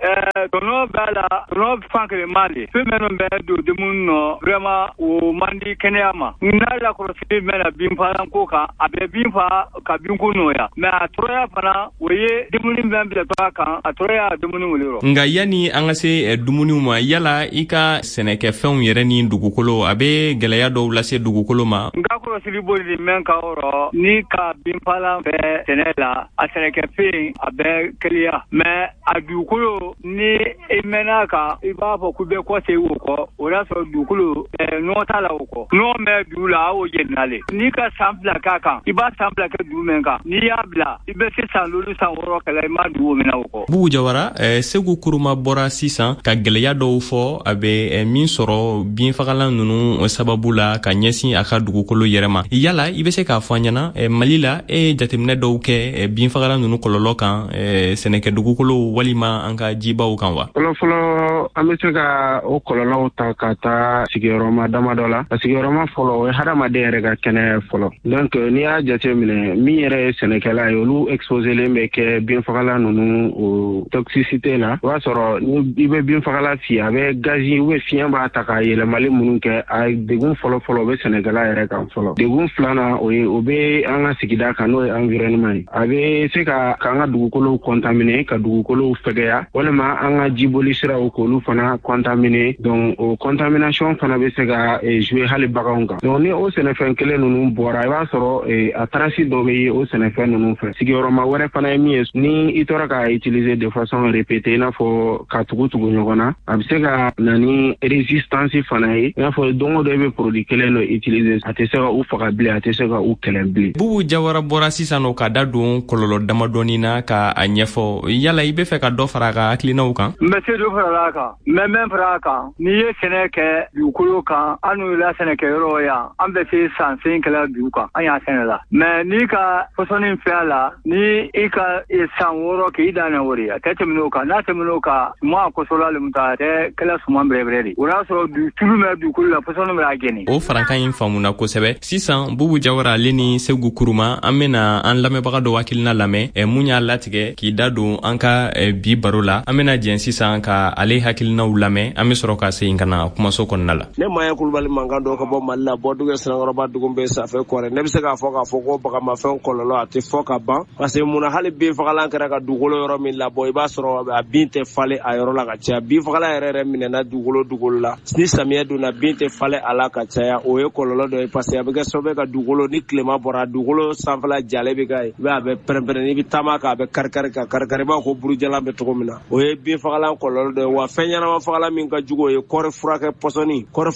S18: tɔnɔ b'a la, tɔnɔ fan kelen ma le. Fɛn minnu bɛ don dumuni nɔ, vraiment o man di kɛnɛya ma. N'a lakɔlɔsili mɛnna binfagalan ko kan, a bɛ bin fa ka binko nɔgɔya, mais a tɔɔrɔya fana o ye dumuni bɛn bilatɔ a kan, a tɔɔrɔya dumuni wele rɔ.
S5: Nka yanni an ka se dumuniw ma, yala i ka sɛnɛkɛfɛnw yɛrɛ ni dugukolo, a bɛ gɛlɛya dɔw lase dugukolo ma?
S18: N ka kɔlɔsili boli mɛn ka yɔrɔ ni ka binfagalan bɛ sɛnɛ la, a sɛnɛkɛfɛn a bɛ kɛlɛya, mais a dugukolo ni i mɛnna kan, i b'a fɔ k'u bɛ kɔ segin o kɔ, o y'a sɔrɔ dugukolo nɔgɔ t'a la o kɔ. Nɔgɔ bɛ dugu la, a y'o jenina le. N'i ka san 2 k'a kan, i b'a san 2 kɛ dugu mɛn kan, n'i y'a bila i bɛ se san 5 san 6 kɛla i ma dugu minɛ o kɔ.
S5: Bubu Jawara, Seku Kuruma bɔra sisan ka gɛlɛya dɔw fɔ a bɛ min sɔrɔ binfagalan ninnu sababu la ka ɲɛsin a ka dugukolo yɛrɛ ma. Yala i bɛ se k'a fɔ an ɲɛna, Mali la e ye jateminɛ dɔw kɛ binfagalan ninnu kɔlɔlɔ kan sɛnɛkɛ dugukolo walima an ka jibaw kan wa?
S19: Fɔlɔfɔlɔ, an bɛ se ka o kɔlɔlɔw ta ka taa sigiyɔrɔma damadɔ la. A sigiyɔrɔma fɔlɔ, o ye hadamaden yɛrɛ ka kɛnɛya fɔlɔ. Donc n'i y'a jateminɛ, min yɛrɛ ye sɛnɛkɛla ye, olu exposelen bɛ kɛ binfagalan ninnu o toxicité la. O b'a sɔrɔ ni i bɛ binfagalan fiyɛ, a bɛ gazi ou bien fiɲɛ b'a ta ka yɛlɛmali minnu kɛ, a degun fɔlɔ-fɔlɔ o bɛ sɛnɛkɛla yɛrɛ kan fɔlɔ. Degun filanan, o ye o bɛ an ka sigida kan, n'o ye environnement ye. A bɛ se ka k'an ka dugukolow contaminer, ka dugukolow fɛgɛya, walima an ka jiboli siraw k'olu fana contaminer. Donc o contamination fana bɛ se ka jouer hali baganw kan. Donc ni o sɛnɛfɛn kelen ninnu bɔra, i b'a sɔrɔ a trace dɔ bɛ ye o sɛnɛfɛn ninnu fɛ. Sigiyɔrɔma wɛrɛ fana ye min ye, ni i tora k'a utiliser de façon répétée, i n'a fɔ ka tugu tugu ɲɔgɔn na, a bɛ se ka na ni résistance fana ye. I n'a fɔ don o don e bɛ produit kelen dɔ utiliser, a tɛ se ka u faga bilen, a tɛ se ka u kɛlɛ bilen.
S5: Bubu Jawara bɔra sisan nɔ ka da don kɔlɔlɔ damadɔni na ka a ɲɛfɔ. Yala i bɛ fɛ ka dɔ fara a ka hakilinaw kan?
S18: N bɛ se dɔ fara a kan, n bɛ mɛn fara a kan. N'i ye sɛnɛ kɛ dugukolo kan, an n'u la sɛnɛkɛyɔrɔ yan, an bɛ se san sen kɛlɛ dugu kan, an y'a sɛnɛ la. Mais n'i ka pɔsɔni fɛ a la, ni i ka san 6 k'i dan na o de, a tɛ tɛmɛ o kan. N'a tɛmɛ o kan, suman kɔsɔla le ta, a tɛ kɛla suman bɛrɛbɛrɛ de. O y'a sɔrɔ tulu bɛ dugukolo la, pɔsɔni bɛ a jɛni.
S5: O farankan in faamuna kosɛbɛ. Sisan Bubu Jawara ale ni Seku Kuruma, an bɛna an lamɛnbaga dɔ hakilina lamɛn mun y'a latigɛ k'i da don an ka bi baro la. An bɛna jɛn sisan ka ale hakilinaw lamɛn, an bɛ sɔrɔ ka segin ka na kumaso kɔnɔna la.
S20: Ne Maya Kulubali mankan dɔ ka bɔ Mali la, Bɔdugu Sinankɔrɔba dugu bɛ Safɛ Kɔrɛ. Ne bɛ se k'a fɔ ko bagamafɛn kɔlɔlɔ a tɛ fɔ ka ban, parce que munna hali binfagalan kɛra ka dugukolo yɔrɔ min labɔ, i b'a sɔrɔ a bin tɛ falen a yɔrɔ la ka caya. Binfagalan yɛrɛ minɛna dugukolo la, ni samiyɛ donna bin tɛ falen a la ka caya. O ye kɔlɔlɔ dɔ ye, parce que a bɛ kɛ sababu ye ka dugukolo, ni tilema bɔra, dugukolo sanfɛla jalen bɛ k'a ye, i b'a ye a bɛ pɛrɛn-pɛrɛn, n'i bɛ taama kan a bɛ kari-kari ka kari-kari, i b'a fɔ ko burujalan bɛ cogo min na. O ye binfagalan kɔlɔlɔ dɔ ye. Wa fɛn ɲɛnama fagalan min ka jugu, o ye kɔɔri furakɛ pɔsɔni, kɔɔri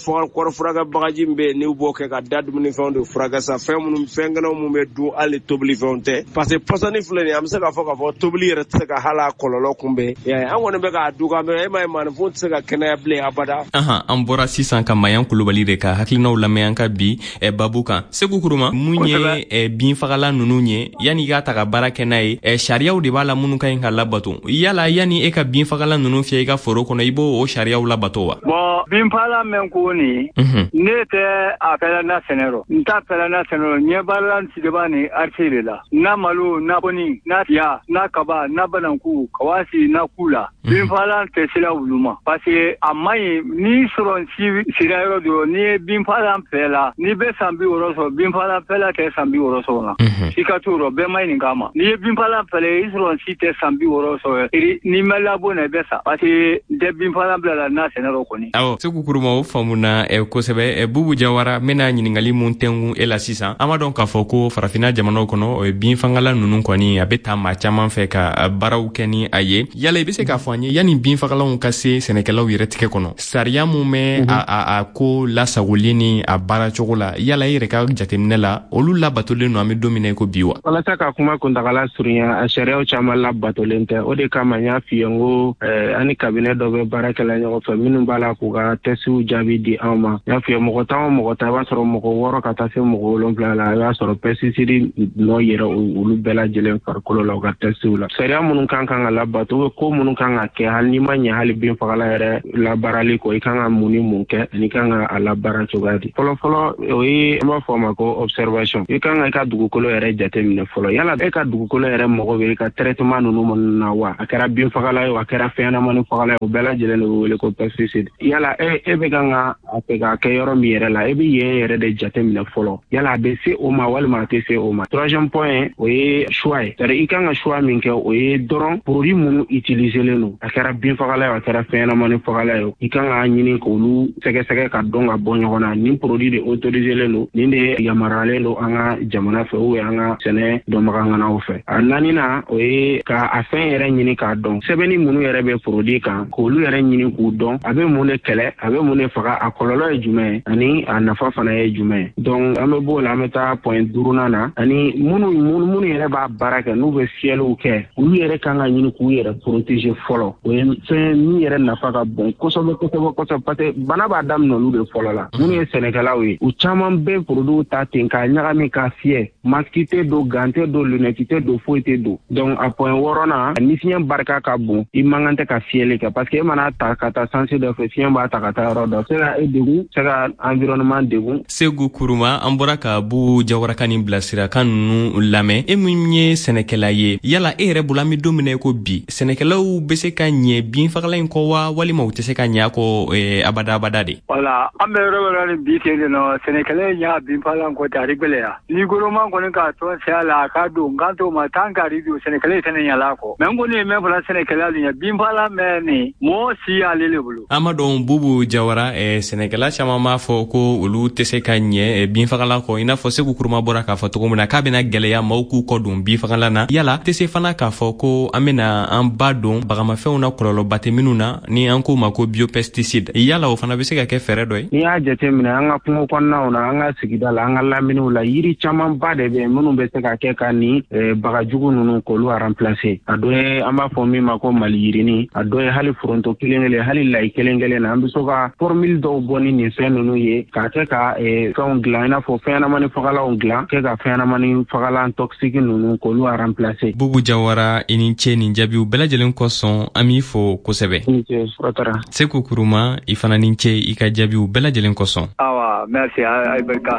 S20: furakɛ bagaji min bɛ yen, n'u b'o kɛ ka da dumunifɛnw de furakɛ sa, fɛn minnu fɛn kɛnɛw minnu bɛ dun hali hali tobilifɛnw tɛ, parce que pɔsɔni filɛ nin ye, an bɛ se k'a fɔ k'a fɔ tobili yɛrɛ tɛ se ka hali a kɔlɔlɔ kunbɛn. An kɔni bɛ k'a dun, mɛ e m'a ye maaninfin tɛ se ka kɛnɛya bilen abada.
S5: Ahan, an bɔra sisan ka Mayan Kulubali de ka hakilinaw lamɛn an ka bi babu kan. Segu Kuruma, mun ye binfagalan ninnu ye, yanni i k'a ta ka baara kɛ n'a ye, sariyaw de b'a la minnu ka ɲi ka labato. Yala yanni e ka binfagalan ninnu fiyɛ i ka foro kɔnɔ, i b'o o sariyaw labato wa?
S18: Bon, binfagalan mɛn ko nin, ne tɛ a fɛla na sɛnɛ rɔ, n t'a fɛla na sɛnɛ rɔ. Ɲɛ baara sideba ni arisi de la, na malo, na kɔni, na tiya, na kaba, na bananku, kawasi, na ku la. Binfagalan tɛ sira olu ma, parce que a man ɲi. N'i sɔrɔ si sira yɔrɔ dɔ, n'i ye binfagalan fɛ la, n'i bɛ san 60 sɔrɔ, binfagalan fɛla tɛ san 60 sɔrɔ na. I ka t'o rɔ, bɛɛ ma ɲininka a ma. N'i ye binfagalan fɛlɛ, i sɔrɔ si tɛ san 60 sɔrɔ, n'i ma labɔ na, i bɛ sa, parce que n tɛ binfagalan bila la n'a sɛnɛ rɔ kɔni.
S5: Awɔ, Segu Kuruma, o faamuna kosɛbɛ. Bubu Jawara, n bɛna ɲininkali mun tɛngun e la sisan. An b'a dɔn k'a fɔ ko farafinna jamanaw kɔnɔ, binfagalan ninnu kɔni a bɛ taa maa caman fɛ ka baaraw kɛ ni a ye. Yala i bɛ se k'a fɔ an ye, yanni binfagalanw ka se sɛnɛkɛlaw yɛrɛ tigɛ kɔnɔ, sariya mun bɛ a ko lasagoli ni a baara cogo la, yala e yɛrɛ ka jateminɛ la, olu labatolen don an bɛ don min na i ko bi wa?
S19: Walasa ka kuma kuntagala surunya, a sariyaw caman labatolen tɛ. O de kama n y'a f'i ye n ko an ni cabinet dɔ bɛ baara kɛla ɲɔgɔn fɛ minnu b'a la k'u ka tɛsiw jaabi di anw ma. N y'a f'i ye, mɔgɔ 10 o mɔgɔ 10, i b'a sɔrɔ mɔgɔ 6 ka taa se mɔgɔ 7 la, i b'a sɔrɔ pesticide nɔ yɛrɛ olu bɛɛ lajɛlen farikolo la u ka tɛsiw la. Sariya minnu kan ka labato, ko minnu kan ka kɛ, hali n'i ma ɲɛ hali binfagalan yɛrɛ labaarali kɔ, i kan ka mun ni mun kɛ ani i kan ka a labaara cogoya di. Fɔlɔfɔlɔ, o ye an b'a fɔ o ma ko observation. I kan ka i ka dugukolo yɛrɛ jateminɛ fɔlɔ. Yala e ka dugukolo yɛrɛ mago bɛ i ka traitement ninnu na wa? A kɛra binfagalan ye o, a kɛra fɛnɲɛnamani fagalan ye, o bɛɛ lajɛlen de bɛ wele ko pesticide. Yala e bɛ kan ka a fɛ k'a kɛ yɔrɔ min yɛrɛ la, e bɛ yen yɛrɛ de jateminɛ fɔlɔ. Yala a bɛ se o ma walima a tɛ se o ma. Troisième point, o ye choix ye. C'est-à-dire i kan ka choix min kɛ, o ye dɔrɔn produit minnu utiliselen don, a kɛra binfagalan ye, a kɛra fɛnɲɛnamani fagalan ye, i kan k'a ɲini k'olu sɛgɛsɛgɛ ka dɔn ka bɔ ɲɔgɔn na. Nin produit de autoriselen don, nin de yamaruyalen don an ka jamana fɛ ou an ka sɛnɛ dɔnbagaŋanaw fɛ. A naaninan, o ye ka a fɛn yɛrɛ ɲini k'a dɔn, sɛbɛnni minnu yɛrɛ bɛ produit kan, k'olu yɛrɛ ɲini k'u dɔn, a bɛ mun de kɛlɛ, a bɛ mun de faga, a kɔlɔlɔ ye jumɛn ye ani a nafa fana ye jumɛn ye. Donc an bɛ b'o la, an bɛ taa point 5nan na, ani minnu yɛrɛ b'a baara kɛ, n'u bɛ fiyɛliw kɛ, olu yɛrɛ kan ka ɲini k'u yɛrɛ protéger fɔlɔ. O ye fɛn min yɛrɛ nafa ka bon kosɛbɛ kosɛbɛ kosɛbɛ, parce que bana b'a daminɛ olu de fɔlɔ la. Minnu ye sɛnɛkɛlaw ye, u caman bɛ produit ta ten k'a ɲagami k'a fiyɛ, masque tɛ don, gant tɛ don, lunette tɛ don, foyi tɛ don. Donc a point 6nan, ni fiɲɛ barika ka bon, i man kan tɛ ka fiyɛli kɛ, parce que e mana ta ka taa sansi dɔ fɛ, fiɲɛ b'a ta ka taa yɔrɔ dɔ, se ka e degun, se ka environnement degun.
S5: Segu Kuruma, an bɔra ka Bubu Jawara ka nin bilasirakan ninnu lamɛn. E min ye sɛnɛkɛla ye, yala e yɛrɛ bolo, an bɛ don min na i ko bi, sɛnɛkɛlaw bɛ se ka ɲɛ binfagalan in kɔ wa, walima u tɛ se ka ɲɛ a kɔ abada abada de?
S18: Wala, an bɛ yɔrɔ wɛrɛ ni bi ten de nɔ, sɛnɛkɛla ɲɛ binfagalan kɔ tɛ, a gbɛlɛya. Ni gouvernement kɔni k'a tɔn sɛya la, a ka don n kan t'o ma tan k'ari don, sɛnɛkɛla tɛnɛ ɲala kɔ. Mɛ n kɔni ye mɛn fɔla sɛnɛkɛla nin ye, binfagalan mɛn nin, mɔgɔ si y'ale le bolo.
S5: An b'a dɔn Bubu Jawara, sɛnɛkɛla caman b'a fɔ ko olu tɛ se ka ɲɛ binfagalan kɔ, i n'a fɔ Segu Kuruma bɔra k'a fɔ cogo min na k'a bɛna gɛlɛya maaw k'u kɔ don binfagalan na. Yala tɛ se fana k'a fɔ ko an bɛna an ba don bagamafɛnw na kɔlɔlɔba tɛ minnu na, ni an k'o ma ko biopesticide, yala o fana bɛ se ka kɛ fɛɛrɛ dɔ ye?
S19: N'i y'a jateminɛ an ka kungo kɔnɔnaw na, an ka sigida la, an ka laminiw la, yiri camanba de bɛ yen minnu bɛ se ka kɛ ka nin bagajugu ninnu k'olu remplacer. A dɔ ye an b'a fɔ min ma ko maliyirini, a dɔ ye hali foronto kelen kelen, hali layi kelen kelen na, an bɛ se ka formule dɔw bɔ ni nin fɛn ninnu ye k'a kɛ ka fɛnw dilan, i n'a fɔ fɛnɲɛnamani fagalanw dilan, kɛ ka fɛnɲɛnamani fagalan toxique ninnu k'olu remplacer.
S5: Bubu Jawara, i ni ce nin jaabiw bɛɛ lajɛlen kosɔn, an b'i fo kosɛbɛ.
S19: I ni ce, Watara.
S5: Segu Kuruma, i fana ni ce i ka jaabiw bɛɛ lajɛlen kosɔn.
S18: Awa, merci, ayi barika.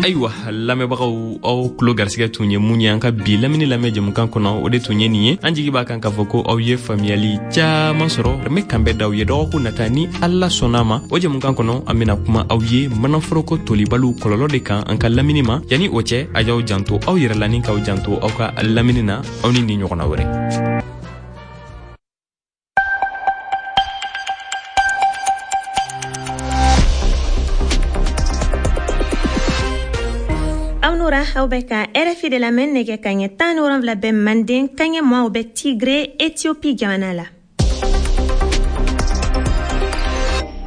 S5: Ayiwa, lamɛnbagaw, aw tulo garisigɛ tun ye mun ye an ka bi lamini lamɛn jɛmukan kɔnɔ, o de tun ye nin ye. An jigi b'a kan k'a fɔ ko aw ye faamuyali caman sɔrɔ. An bɛ kanbɛn d'aw ye dɔgɔkun nata ni Ala sɔnna ma. O jɛmukan kɔnɔ, an bɛna kuma aw ye manaforoko tolibaliw kɔlɔlɔ de kan an ka lamini ma. Yanni o cɛ, a y'aw janto aw yɛrɛ la ni k'aw janto aw ka lamini na. Aw ni nin ɲɔgɔnna wɛrɛ.
S1: Aw bɛ ka RFI de lamɛn, nɛgɛ kaɲɛ 17 bɛ Manden, kaɲɛ 20 bɛ Tigre, Ethiopie jamana la.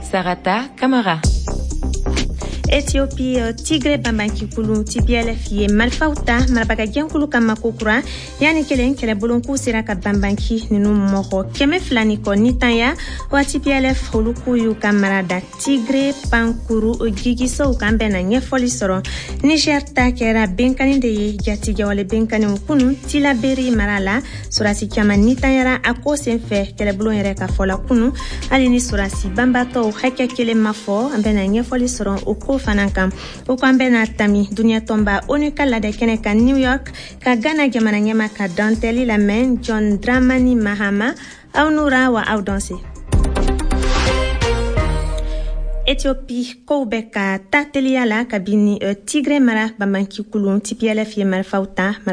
S13: Sarata Kamara.
S1: Ethiopie, Tigre banbancikulu TPLF ye marifaw ta marabagajɛnkulu kama kokura yanni kelen kɛlɛbolon k'u sera ka banbanci nunu mɔgɔ 200 ni kɔ nitanya wa. TPLF olu k'u y'u ka mara da Tigre pankuru jigisow kan. Bɛna ɲɛfɔli sɔrɔ. Niger ta kɛra benkani de ye, jatigɛwale benkaniw kunu Tilaberi mara la. Sorasi caman nitanyara a ko senfɛ, kɛlɛbulon yɛrɛ ka fɔ la kunu, hali ni sorasi banbatɔw hakɛ kelen ma fɔ. An bɛna ɲɛfɔli sɔrɔ o ko fana kan. O ko an bɛna tami duniɲa tɔnba ONU ka ladɛ kɛnɛ kan New York, ka Ghana jamana ɲɛma ka dantɛli lamɛn, John Dramani Mahama. Aw nura wa aw danse. Ethiopie, kow bɛ ka ta teliya la kabini Tigre mara banbanci kulun TPLF ye marifaw ta.